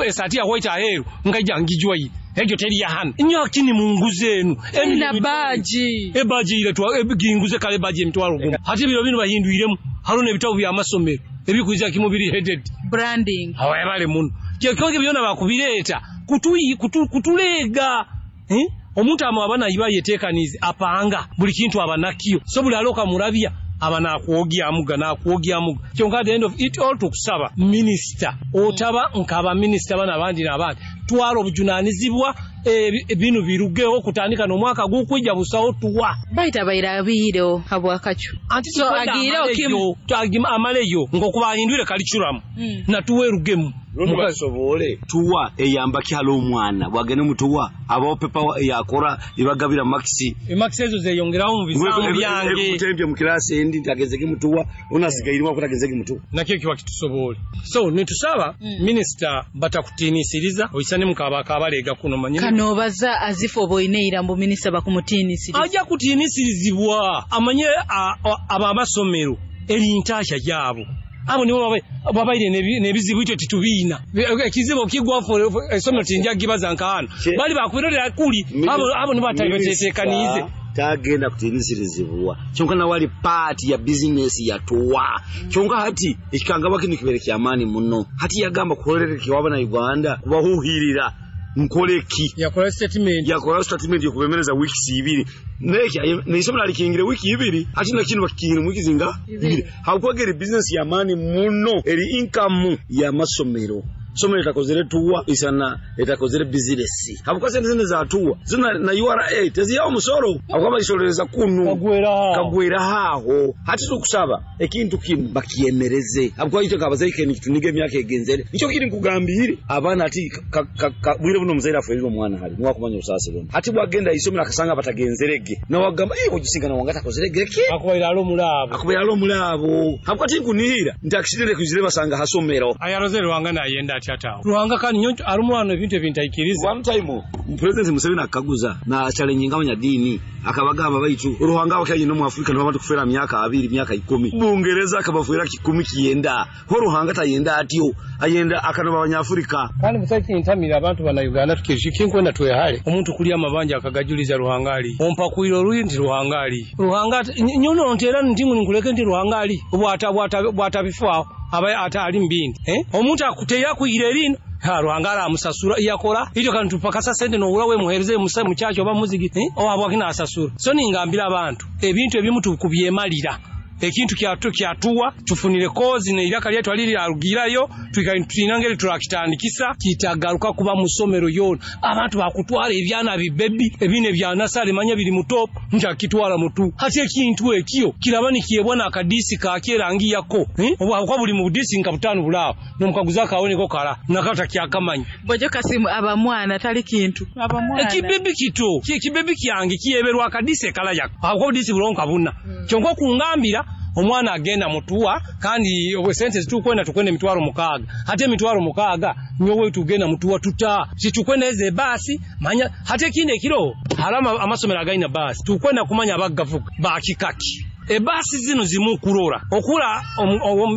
esati ya white aheru ngaija ngijwa yi ekyo teri yahana inyo kini munguze enu Na baji. ebaji ile twa ginguze kale baji emitwalo gumu hati biro bino bahindwiremu hariho n'ebitabo by'amasomero ebikwiza kimu biri headed Branding. awayabale muno kyekyo byona bakubireeta kutuyi kutu, kutuleega eh? omuntu ama abana iba yeteekanize apanga buli kintu abanakyo so buli aloka murabya aba nakwogyamuga nakwogyamuga kyonka at the end of it all tukusaba minisita otaba nkaba minisita bana abandi n'abandi twala obujunaanizibwa ebi- bino birugeho kutandika n'omwaka gukwijja busawo tuwa Baita bairabiireho habwakacu. anti So agiireho kimu. amaleyo ng'okuba ahindwire curriculum Mm. natuwa erugemu Rundi basobole tuwa eyamba kyalo omwana bwagenda mutuwa abawo pepa yakora ibagabira maxi emakisi ezo zeyongerawo mu bisambu byange kutembya mu kirasi endi nti agezege mutuwa onasigairwa kuti agezege mutuwa nakyo kiba kitusobole so netusaba Mm. minisita batakutiinisiriza oyisane mukaba kabaleega kuno manyi Kanobaza azifu oboineira mbu minisita bakumutiinisiriza. ajja kutiinisirizibwa amanye a- a- abo amasomero eri ntaasha gyabo abo nibo babai- babaire n'ebi- n'ebizibu itwe titubiina ekizibu kigwa essomero tinja gibaza nkahano Che- bali bakubirorera kuli abo abo nibo batali batetekaniize tagenda kutiinisirizibwa kyonka nawe ali paati ya bizinesi yatuwa kyonka hati ekikangabwa kino kibeere kyamaani muno hati yagamba kuholereke wabana Uganda kubahuhirira nkoleki yakola statement yakola statement yokubemereza weeks ibiri neki neisomero alikingire wiki ibiri ati nakino bakikingire mu wiki zinga ibiri hakwagera business ya mani muno eri income ya masomero somero etakozere tuwa isana etakozere business habuka sente zine za tuwa zina na U R A teziyawo musoro akwaba isorereza kunu kagwera kagwera haho hati tukusaba ekintu kimu bakiyemereze habwo icyo kabazaike nikituniga emyaka egenzere nicyo kiri nkugambire abaana ati ka- ka- ka- bwire buno muzaire afuirire omwana hali niwakumanya obusaasi buno hati bwagenda isomero akasanga batagenzerege nawagamba iwe ogisingana wange atakozerege ki akubaire ali omulaabo akubaire ali omulaabo habwo ati nkunihira nti akisidere kwizire basanga hasomero ayaroze Ruhanga nayenda atya atawo Ruhanga kandi nyoncho alimu wano ebintu ebintaikiriza one time president Museveni akaguza na challenge abanyadini akabagamba baitu Ruhanga wakayina mu Afrika nibo kufera myaka abiri myaka ikumi Bungereza akabafuera kikumi kiyenda ho Ruhanga tayenda atyo ayenda akanoba abanyafrika kandi musaki ntamira abantu bana Uganda tukiriki nkwenda twehale omuntu kulya amabanja akagajuliza Ruhanga ali ompakwira oluyi nti Ruhanga ali Ruhanga ati- ny- nyono nti era nti nkuleke nti Ruhanga ali bwata bwata bwatabifaawo aba ata ali mbindi eh omuntu akuteya kuyira erino Ha, Ruhanga aramusasura iyakora iryo kandi tupakasa sente nohura we muhereze musa muchacho oba muzigi eh? Oba kinasasura. So ningambira abantu ebintu ebimu tukubyemalira ekintu kyatu kyatuwa tufunire kozi neiraka lyetu aliri arugirayo tuinangeri turakitandikisa kitagaruka kuba musomero yona. Abantu bakutwara ebyana bibebi ebine bya nasale manya biri mutop njakitwara mutu hati ekintu ekyo kiraba nikiebwa na akadisi ka kerangi yako eh? Oba kwa buli mu budisi nka butano bulao nomukaguza kaone ko kala nakata kyakamanyi bojo kasimu abamwana tali kintu abamwana ekibebi kito ekibebi kyange kiyeberwa akadisi kala yako akwo budisi bulonka buna hmm. Kyonko kungambira omwana agenda mutuwa kandi obwe sente zitukwenda tukwenda emitwaro mukaaga hate emitwaro mukaaga nyowe tugenda mutuwa tuta situkwenda eze basi manya hate kine kiro harama amasomero againa basi tukwenda kumanya abagavuga bakikaki ebasi zino zimu kurora okura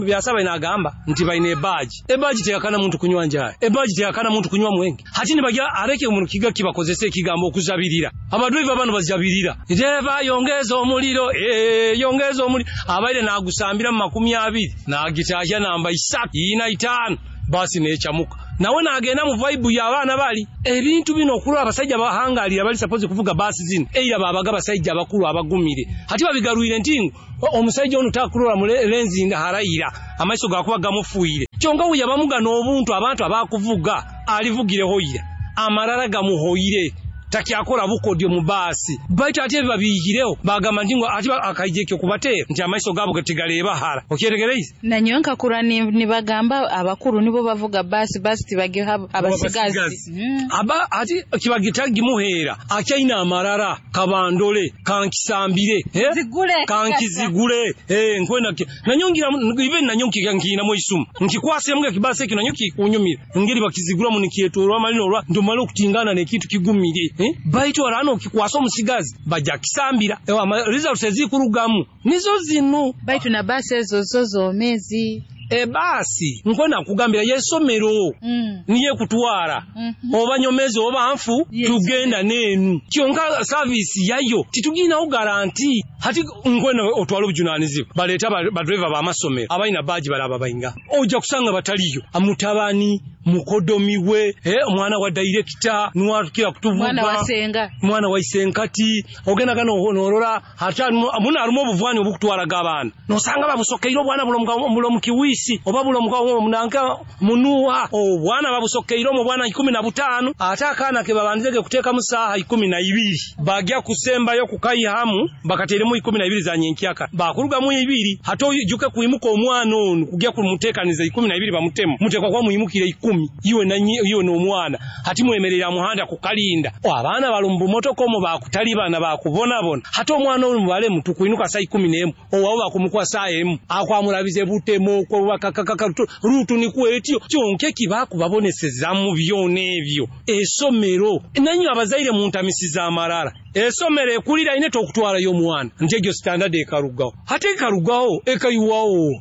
byasaba inagamba nti baine ebaji ebaji teyakana muntu kunywa njaye ebaji teyakana muntu kunywa mwenge hati nibagira areke umuntu kiga kibakozese ekigambo okuzabirira abadriver bano bazabirira dereva yongeza omuliro eh yongeza omuliro abaire nagusambira mu makumi abiri nagitaja namba isatu ina itano basi nechamuka nawe nagenda mu vibe y'abaana bali ebintu bino okulwa abasajja bahangalira bali suppose kuvuga basi zino eira babaga abasajja abakulu abagumire hati babigarwire ntingo omusajja ono takulora mu lenzi harayira amaiso gakuba gamufuire kyonka we yabamuga n'obuntu abantu abakuvuga alivugireho ira amarara gamuhoire takyakora bukodyo mu basi baitu ate babiyigireho bagamba ntingo ati akaijekyo kubatera nti amaiso gabo gatigaleba hara okyeregereize nanyonka kura nibagamba abakuru nibo bavuga basi basi tibagiha abasigazi mm. Aba ati kibagitagi muhera akyaina amarara kabandole kankisambire eh? Zigule kankizigule eh nkwenda nanyongira ibe nanyonki nkina mu isumu nkikwase mbwa kibasi ekyo nanyonki kunyumira ngeri bakizigura mu nikyetorwa malino olwa ndomala okutingana nekintu kigumire eh? Baitu arano kikwasa omusigazi bajja kisambira ewa results ezikurugamu nizo zino baitu na basi ezo zo zomezi ebasi nkwenda kugambira yesomero mm. niye kutwara mm -hmm. Oba nyomezi oba nfu yes. Tugenda nenu kyonka service yayo titugina garanti hati nkwenda otwala obujunanizibwa baleta ba driver ba masomero abaina baji balaba bayinga ojja kusanga bataliyo amutabani mukodomiwe eh omwana wa director nuwatukira kutuvuga mwana wa senga mwana wa isenkati ogenda kano norora hata muna arumo obuvwani obukutwara gabana nosanga babusokeiro bwana bulo mu kiwisi oba bulo mu munanka munuwa obwana babusokeiro mu bwana ikumi na butano ate akana ke babanzege kuteka musaha ikumi na ibiri bagya kusembayo kukayihamu bakateremu ikumi na ibiri za nyenkyaka bakuruga mu ibiri hato juke kuimuka omwana ono kugya kumutekaniza ikumi na ibiri bamutemu mutekwa kwa muimukire ikumi iwe nanyi iwe n'omwana hati mwemerera muhanda kukalinda abaana balumbu motoko omo bakutalibana bakubonabona hati omwana ono mubale mutukuinuka saa ikumi n'emu owawo bakumukwa saa emu akwamulabize butemo okubakakakaka rutu nikwetyo kyonka ekibakubabonesezamu byona ebyo esomero nanyi abazaire muntamisiza amarara esomero ekulira ine tokutwalayo omwana nti egyo standard ekarugaho hati ekarugaho ekayiwawo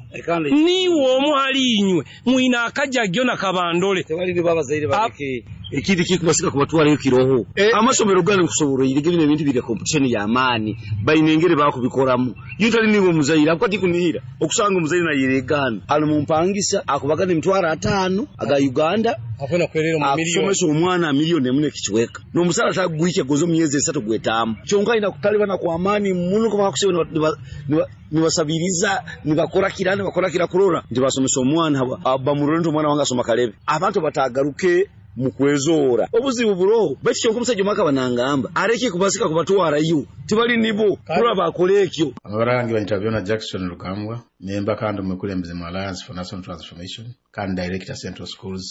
niwe omu hali inywe mwina akajagyo nakabandole tewali babazaire baleke ekindi kikubasika kubatwalayo kiroho amasomero gano nkusoboroire bino ebintu biri competition ya maani bainengere bakubikoramu yutali niwe muzaire akwati kunihira okusanga omuzaire nayeregana ali mumpangisa akubagana emitwaro ataano aga Uganda akwenda kwerera mu miliyoni akusomesa omwana miliyoni emu nekichweka n'omusala tagwike gozo myezi esatu gwetamu kyonka ina kutalibana kwa amani muno kuba kusebe nibasabiriza nibakora kira nibakora kira kurora ndibasomesa omwana bamurore nti omwana wange asoma kalebe abantu batagaruke mukwezora obuzibu buroho baitu kyonka omusajja omwaka banangamba areke kubasika kubatwarayo tibali nibo kurora bakora ekyo Amabara gange banyita Byona Jackson Lukambwa nemba kandi omukulembeze mu Alliance for National Transformation kandi director Central Schools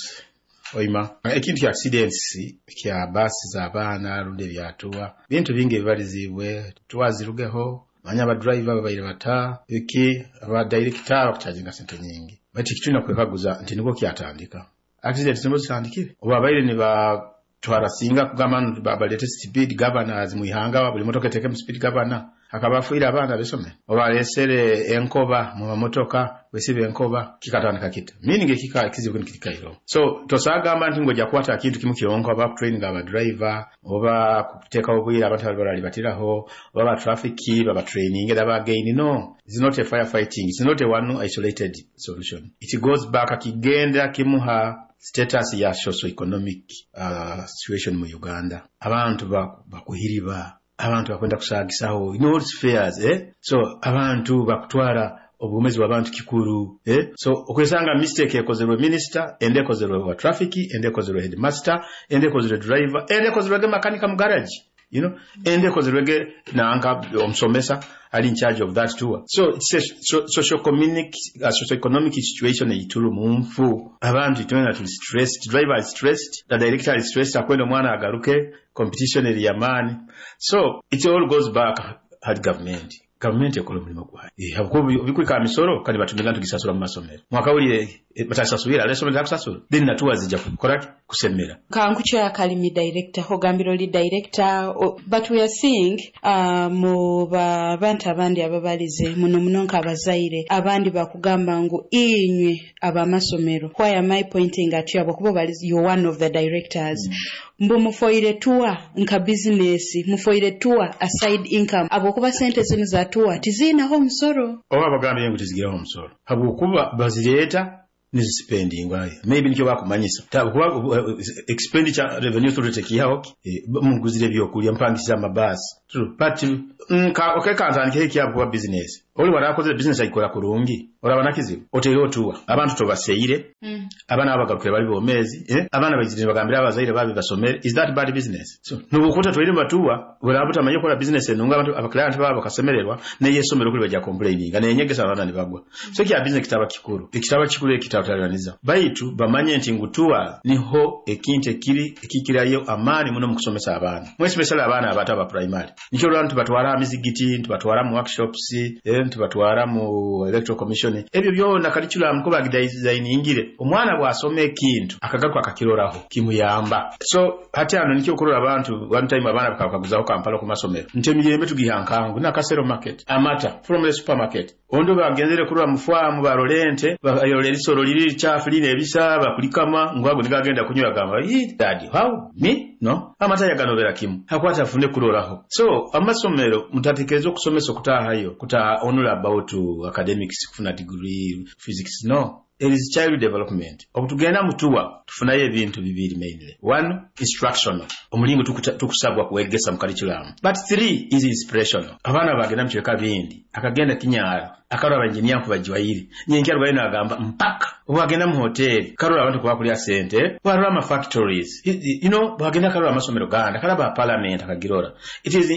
Oima. Ekintu kya accidents kya basi z'abaana rundi ebyatuwa bintu bingi ebibalizibwe tuwazirugeho manya abadriver babaire bata iki abadirector bakucharginga sente nyingi baitu ekitulina kwekaguza nti nibwo kyatandika accidents nibwo zitandikire oba abaire nibatwara singa kugamba balete speed governors mwihanga buli motoka etekemu speed governor akabafuira abaana besome oba alesere enkoba mu mamotoka wesibe enkoba kikatandika kita meaning ekika kizibu nikikairo so tosagamba nti ngojja kukwata akintu kimu kyonka oba training aba driver oba kuteeka obwire abantu abalibatiraho oba ba traffic baba training era ba gain. No, it's not a firefighting, it's not a one isolated solution. It goes back akigenda kimuha Status ya socio-economic uh, situation mu Uganda. Abantu bakuhiriba, abantu bakwenda kusagisaho in all spheres, eh? So abantu bakutwara obumezi bw'abantu kikuru, eh? So okwesanga mistake ekozerwe minister, ende ekozerwe wa traffic, ende ekozerwe headmaster, ende ekozerwe driver, ende ekozerwe makanika mu garage, you know, ende ekozerwe nanka omusomesa ali in charge of that tour. So it's a so, socio-economic uh, socio-economic situation eituru munfu. Abantu itwena tuli stressed, driver is stressed, the director is stressed, akwenda omwana agaruke, competition eri yamaani. So it all goes back at government. Gavumenti ekola omulimu gwayo. Eh, habwokuba bikwika misoro kandi batumiga tugisasula mu masomero. Mwakawulire batasasubira alesomero takusasula. Then natuwa zijja kukola kusemera. Kankucho Academy director ogambira oli director o, but we are seeing uh, mu bantu abandi ababalize muno muno nk'abazaire abandi bakugamba ngu inywe abamasomero. Why am I pointing at you? Abakuba balize you're one of the directors. Mm. Mbu mufoire tour nka business, mufoire tour a side income. Abokuba sente zinu za tour tizinaho omusoro. Oba bagambye ngu tizigiraho omusoro. Habwokuba bazireeta nizispendingwa. Maybe nikyo bakumanyisa. Kuba uh, expenditure revenue authority kiyaho eh, muguzire byokulya mpangisiza amabasi. True. But nka okay kantandike ekyabo kuba business. Oli warakozere business ayikola kurungi. Oraba nakizibu. Oteere otuwa. Abantu tobaseire. Mm. Abaana abagarukire bali bomezi, eh? Abaana bayizire bagambira abazaire babi basomere. Is that bad business? So nubukuta twire batuwa, burabuta manye kola business enunga abantu abaclient babo bakasemererwa ne yesomero kuli bajja complaining. Ne nyegesa abaana nibagwa. So kya business kitaba kikuru. Ekitaba kikuru ekitatalaniza. Baitu bamanye nti ngutuwa niho ekintu ekiri ekikirayo amaani muno mu kusomesa abaana. Mwe especially abaana abato aba primary. Nikyo lwa ntubatwara amizigiti, ntubatwara mu workshops, eh, ntubatwara mu electoral commission. Ebyo byona curriculum ko bagidesigningire. Omwana bw'asoma ekintu akagaruka akakiroraho kimuyamba. So hati ano nikyo okurora abantu one time abaana bakakaguzaho Kampala ku masomero. Nti emiyembe tugiha nkangu na Kasero market, amata from the supermarket. Ondo bagenzere kurora mu farm barolente, bayolera isoro liri chafu line ebisa bakulikama ngwago nigagenda kunywa gamba, "Yi daddy, how me?" No. Amata yaganobera kimu. Hakwata afune kuroraho. So amasomero mutatekereza okusomesa okutahayo kuta only about academics kufuna degree physics, no. It is child development. Obutugenda mutuwa tufunayo ebintu bibiri mainly. One, instructional. Omulingo tukusabwa kuwegesa mu curriculum. But three is inspirational. Abaana bagenda mu kiweka bindi. Akagenda kinyara. Akarora abanjiniya nkubajiwayiri. Nyenki arwaye nagamba mpaka. Obagenda mu hoteli. Karora abantu kubakulya sente. Barora ama factories. You know, bagenda karora amasomero ganda. Karaba parliament akagirora. It is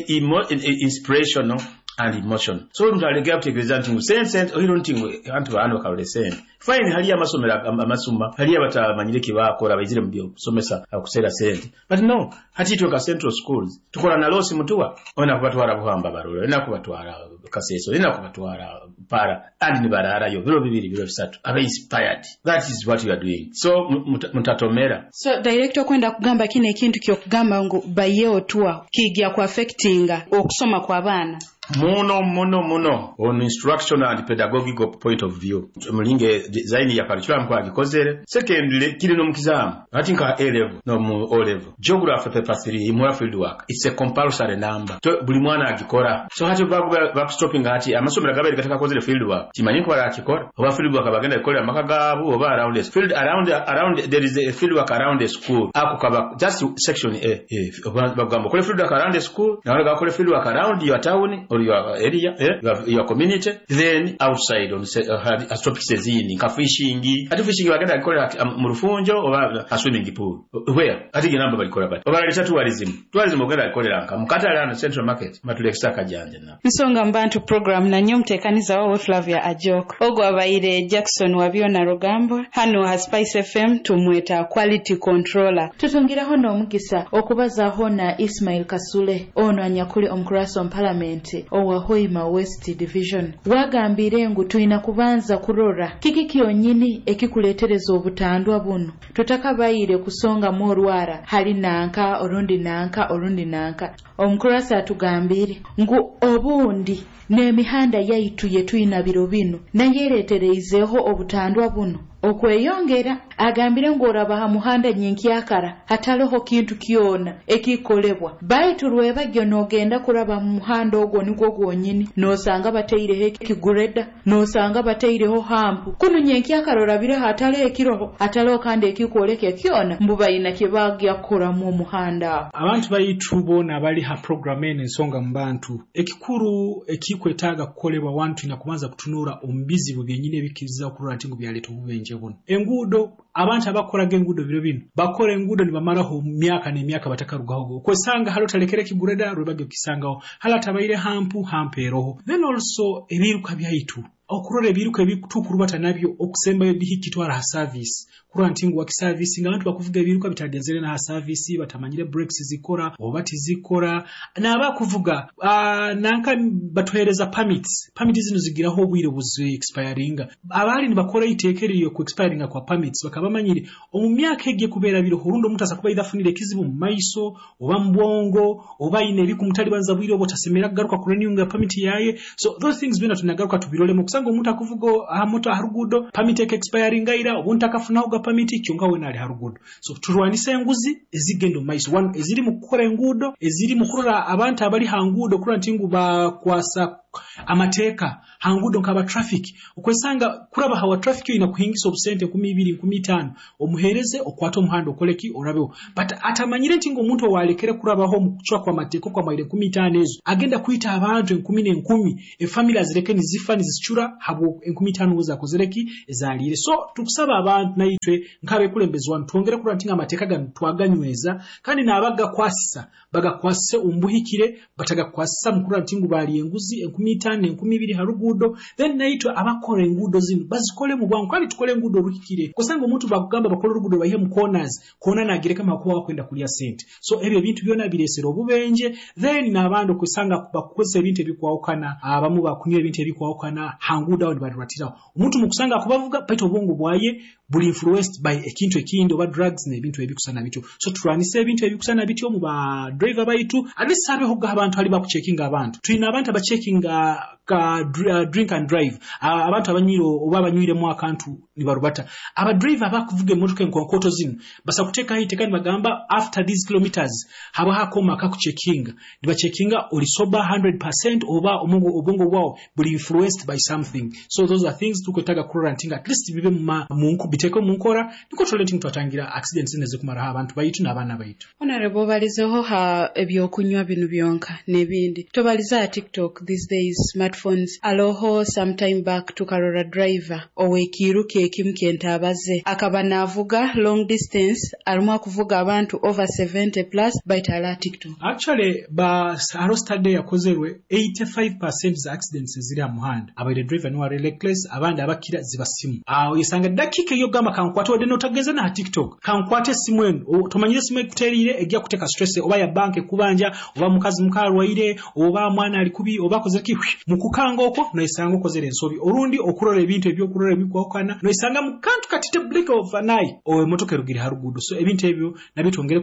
inspirational and emotion. So omuntu alegera kutegereza nti ngu sente sente ohiro nti ngu abantu baano bakarole sente. Fine haliyo amasomero amasuma, haliyo abatamanyire kibakora bayizire mu by'okusomesa akuseera sente. But no, hati itwe ka central schools tukola na losi mutuwa ona kubatwara Buhamba barora, ona kubatwara Kaseso, ona kubatwara Para and ni bararayo biro bibiri biro bisatu. Abe inspired. That is what you are doing. So mutatomera. So director kwenda kugamba kine ekintu kyokugamba ngu bayewo tuwa kijja ku affectinga okusoma kwa baana. Muno muno muno on instructional and pedagogical point of view mulinge design ya curriculum kwa gikozere. Secondly kiri no mukizamu ati nka A level no mu O level geography paper three imura field work it's a compulsory number to buli mwana agikora. So hati babu back stopping hati amasomero gabere gataka kozere field work kimanyi ko barakikora oba field work bagenda ikolera maka gabu oba around the field around around there is a field work around the school ako kaba just section A eh bagamba kole field work around the school na wala kole field work around your town or your area, eh, your, your community, then outside on uh, topics ezindi nka fishing. Ati fishing bagenda ikolera mu rufunjo oba a swimming pool where ati genamba balikola bati oba laleta tourism tourism ogenda ikolera nka mukatale ano central market matulekisa kajanja na nsonga mbantu program na nyo mtekaniza wawe Flavia Ajok ogwo abaire Jackson Wabyona Rugambwa hano ha Spice F M tumweta quality controller. Tutungiraho n'omukisa okubazaho na Ismail Kasule ono anyakuli omukurasa on parliament owa Hoima West Division. Wagambire ngu tulina kubanza kurora kiki kyonyini ekikuletereza obutandwa buno tutakabayire kusonga mu orwara hali nanka orundi nanka orundi nanka. Omukurasa atugambire ngu obundi n'emihanda yaitu yetuyina biro bino nayeretereizeho obutandwa buno Okweyongera agambire ngu oraba ha muhanda nyenkyakara hataloho kintu kyona ekikolebwa, baitu rwebagyo n'ogenda kuraba mu muhanda ogwo nigwo gwonyini n'osanga bataireho ekigureda, n'osanga bataireho hampu kunu nyenkyakara orabireho hataloho ekiroho, hataloho kandi ekikwoleka kyona mbu bayina kye bagya kukoramu omuhanda aho. Abantu baitu boona abali ha program eno ensonga mu bantu, ekikuru ekikwetaaga kukolebwa wantu tulina kubanza kutunura omu bizibu byenyini ebikiriza okurora nti ngu byaleeta obubenje buno. Enguudo, abantu abakoraga enguudo biro bino bakora enguudo nibamaraho myaka n'emyaka batakarugaho. Okwesanga hali otalekere ekigureda rwebagyo kisangaho, hali atabaire hampu hampu eroho. Then also ebiruka byaitu okurora ebiruka ebitukurubata nabyo okusembayo bihikitwara ha service kurora nti ngu wakiservice nga abantu bakuvuga ebiruka bitagenzere na ha service, batamanyire brakes zikora oba tizikora, n'abakuvuga uh, nanka batuhereza permits. Permits zino zigiraho obwire buzi expiringa. Abali nibakora iteeka eryo ku expiringa kwa permits bakaba bamanyire omu myaka egiye kubeera biroho orundi omuntu asakuba either afunire ekizibu mu maiso oba mu bwongo oba ayine ebikumutalibanza bwire obwo tasemera kugaruka ku renewinga permit yaye. So those things byona tunagaruka tubirolemu kusanga omuntu akuvuga aha moto aha ruguudo permit eke expiringa ira obundi takafunaho ga permit kyonka wena ali ha ruguudo. So turwanise enguzi ezigenda omu maiso, one eziri mu kukora enguudo, eziri mu kurora abantu abali ha nguudo kurora nti ngu bakwasa amateeka ha nguudo nk'aba traffic. Okwesanga kuraba hawa traffic oyina kuhingisa obusente nkumi ibiri nkumi itaano omuhereze okwate omuhanda okoleki orabeho, but atamanyire nti ngu omuntu owalekere kurabaho omu kucwa kwa mateeka okwamaire enkumi itaano ezo agenda kwita abantu enkumi n'enkumi, efamily azireke nizifa nizicura habwo enkumi itaano ngo zakozereki ezaliire. So tukusaba abantu naitwe nk'abekulembezi wanu twongere kurora nti amateeka gano twaganyweza, kandi n'abagakwasisa bagakwasise omubuhikire, batagakwasisa mu kurora nti ngu bali enguzi enkumi itaano enkumi ibiri ha ruguudo. Then naitwe abakora enguudo zino bazikole mu bwangu kandi tukole enguudo oruhikire, kusanga omuntu bakugamba bakole oruguudo baihe mu corners kona nagireka makuba bakwenda kulya sente. So ebyo ebintu byona biresera obubenje. Then n'abandi okusanga bakukozesa ebintu ebikwawukana, abamu bakunywa ebintu ebikwawukana ha nguudo aho nibaruratiraho omuntu mukusanga akubavuga baitu obwongo bwaye buli influenced by ekintu ekindi oba drugs n'ebintu ebikusana bityo. So turwanise ebintu ebikusana bityo mu ba driver baitu, at least habeho abantu ali bakucheckinga abantu. Tulina abantu abachekinga ka uh, drink and drive, uh, abantu abanywire oba abanywiremu akantu nibarubata. Aba driver abakuvuga emmotoka enkonkoto zino basa kuteekaho iteeka nibagamba after these kilometers haba hakoma akakucheckinga, nibacheckinga oli sober one hundred percent oba obwongo bwawo buli influenced by something. So those are things tukwetaaga kurora nti at least bibe mu biteeke mu nkora niko turole nti twatangira accidents zino ezikumaraho abantu baitu n'abaana baitu. Honorable, obalizeho ha ebyokunywa bino byonka n'ebindi, tobalize ha TikTok these days, smartphones. Aloho sometime back tukarora driver owekiruka ekimu kyentabaze akaba navuga long distance arimu akuvuga abantu over seventy plus baitu ala TikTok. Actually ba haro study yakozerwe eighty-five percent za accidents eziri ha muhanda abaire driver niwe ari reckless, abandi abakira ziba simu aho yesanga dakika eyo gamba kankwate wadde n'otageza na TikTok kankwate esimu eno tomanyire esimu ekuteriire ejja kuteka stress oba ya bank ekubanja oba mukazi mukarwaire oba mwana ali kubi oba akoze ki mukukanga okwo noisanga okozere ensobi orundi okurora ebintu ebyokurora ebikwawukana noisanga mu kantu katite blink of an eye owe motoka erugire ha ruguudo. So ebintu ebyo nabyo twongere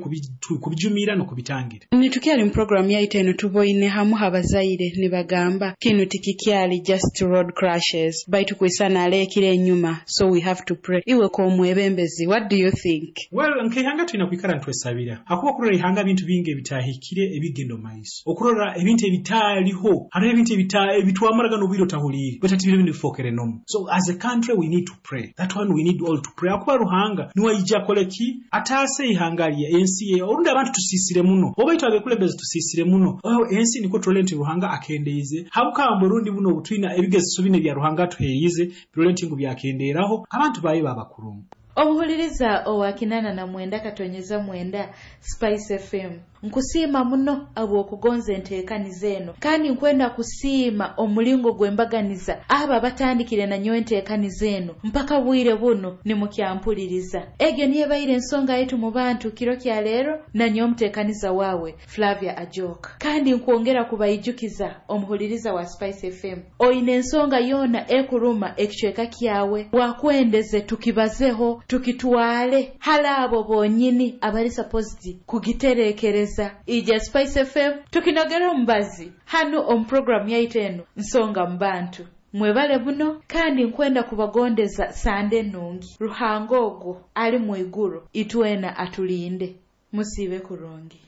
kubijumira n'okubitangira. Nitukyali mu program yaitu eno tuboine hamu abazaire nibagamba kinu tikikyali just road crashes baitu kwisana alekire enyuma, so we have to pray. Iwe ko omwebembezi, what do you think? Well, nk'ihanga tulina kwikara ntwesabira hakuba okurora ihanga bintu bingi ebitahikire ebigendo maiso, okurora ebintu ebitaliho hariho ebintu ebitwamaraga n'obwire otahuliire but ati bino bifokere nomu. So as a country we need to pray, that one we need all to pray. Akuba Ruhanga niwe aija akoleki ataase ihanga lye ensi ye orundi abantu tusisire muno oba itwe abekulembezi tusisire muno oyo ensi niko turole nti Ruhanga akendeize habukamba orundi buno obutwina ebigezeso bine bya Ruhanga atuheriize birole nti ngu byakenderaho abantu baye babakurungu. Omuhuliriza owa kinana na mwenda katonyeza mwenda Spice F M, nkusiima muno abw'okugonza enteekaniza eno, kandi nkwenda kusiima omulingo gw'embaganiza abo abatandikire nanyo enteekaniza eno mpaka bwire buno nimukyampuliriza. Egyo niyo ebaire ensonga yetu mu bantu kiro kya leero nanyo omuteekaniza waawe Flavia Ajoka. Kandi nkwongera kubaijukiza omuhuliriza wa Spice F M, oyina ensonga yona ekuruma ekicweka kyawe wakwendeze tukibazeho tukitwale hala abo bonyini abali supposed kugiterekereza. Ija Spice F M tukinogera omubazi hano omu program yaitu eno nsonga mu bantu. Mwebale muno, kandi nkwenda kubagondeza sande nungi. Ruhanga ogwo ali mu iguru itwena atulinde. Musiibe kurungi.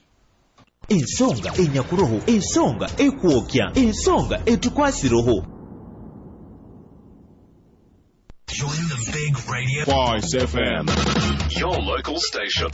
Ensonga enyakuroho, ensonga ekwokya, ensonga etukwasiroho. Join the big radio. Spice F M, your local station.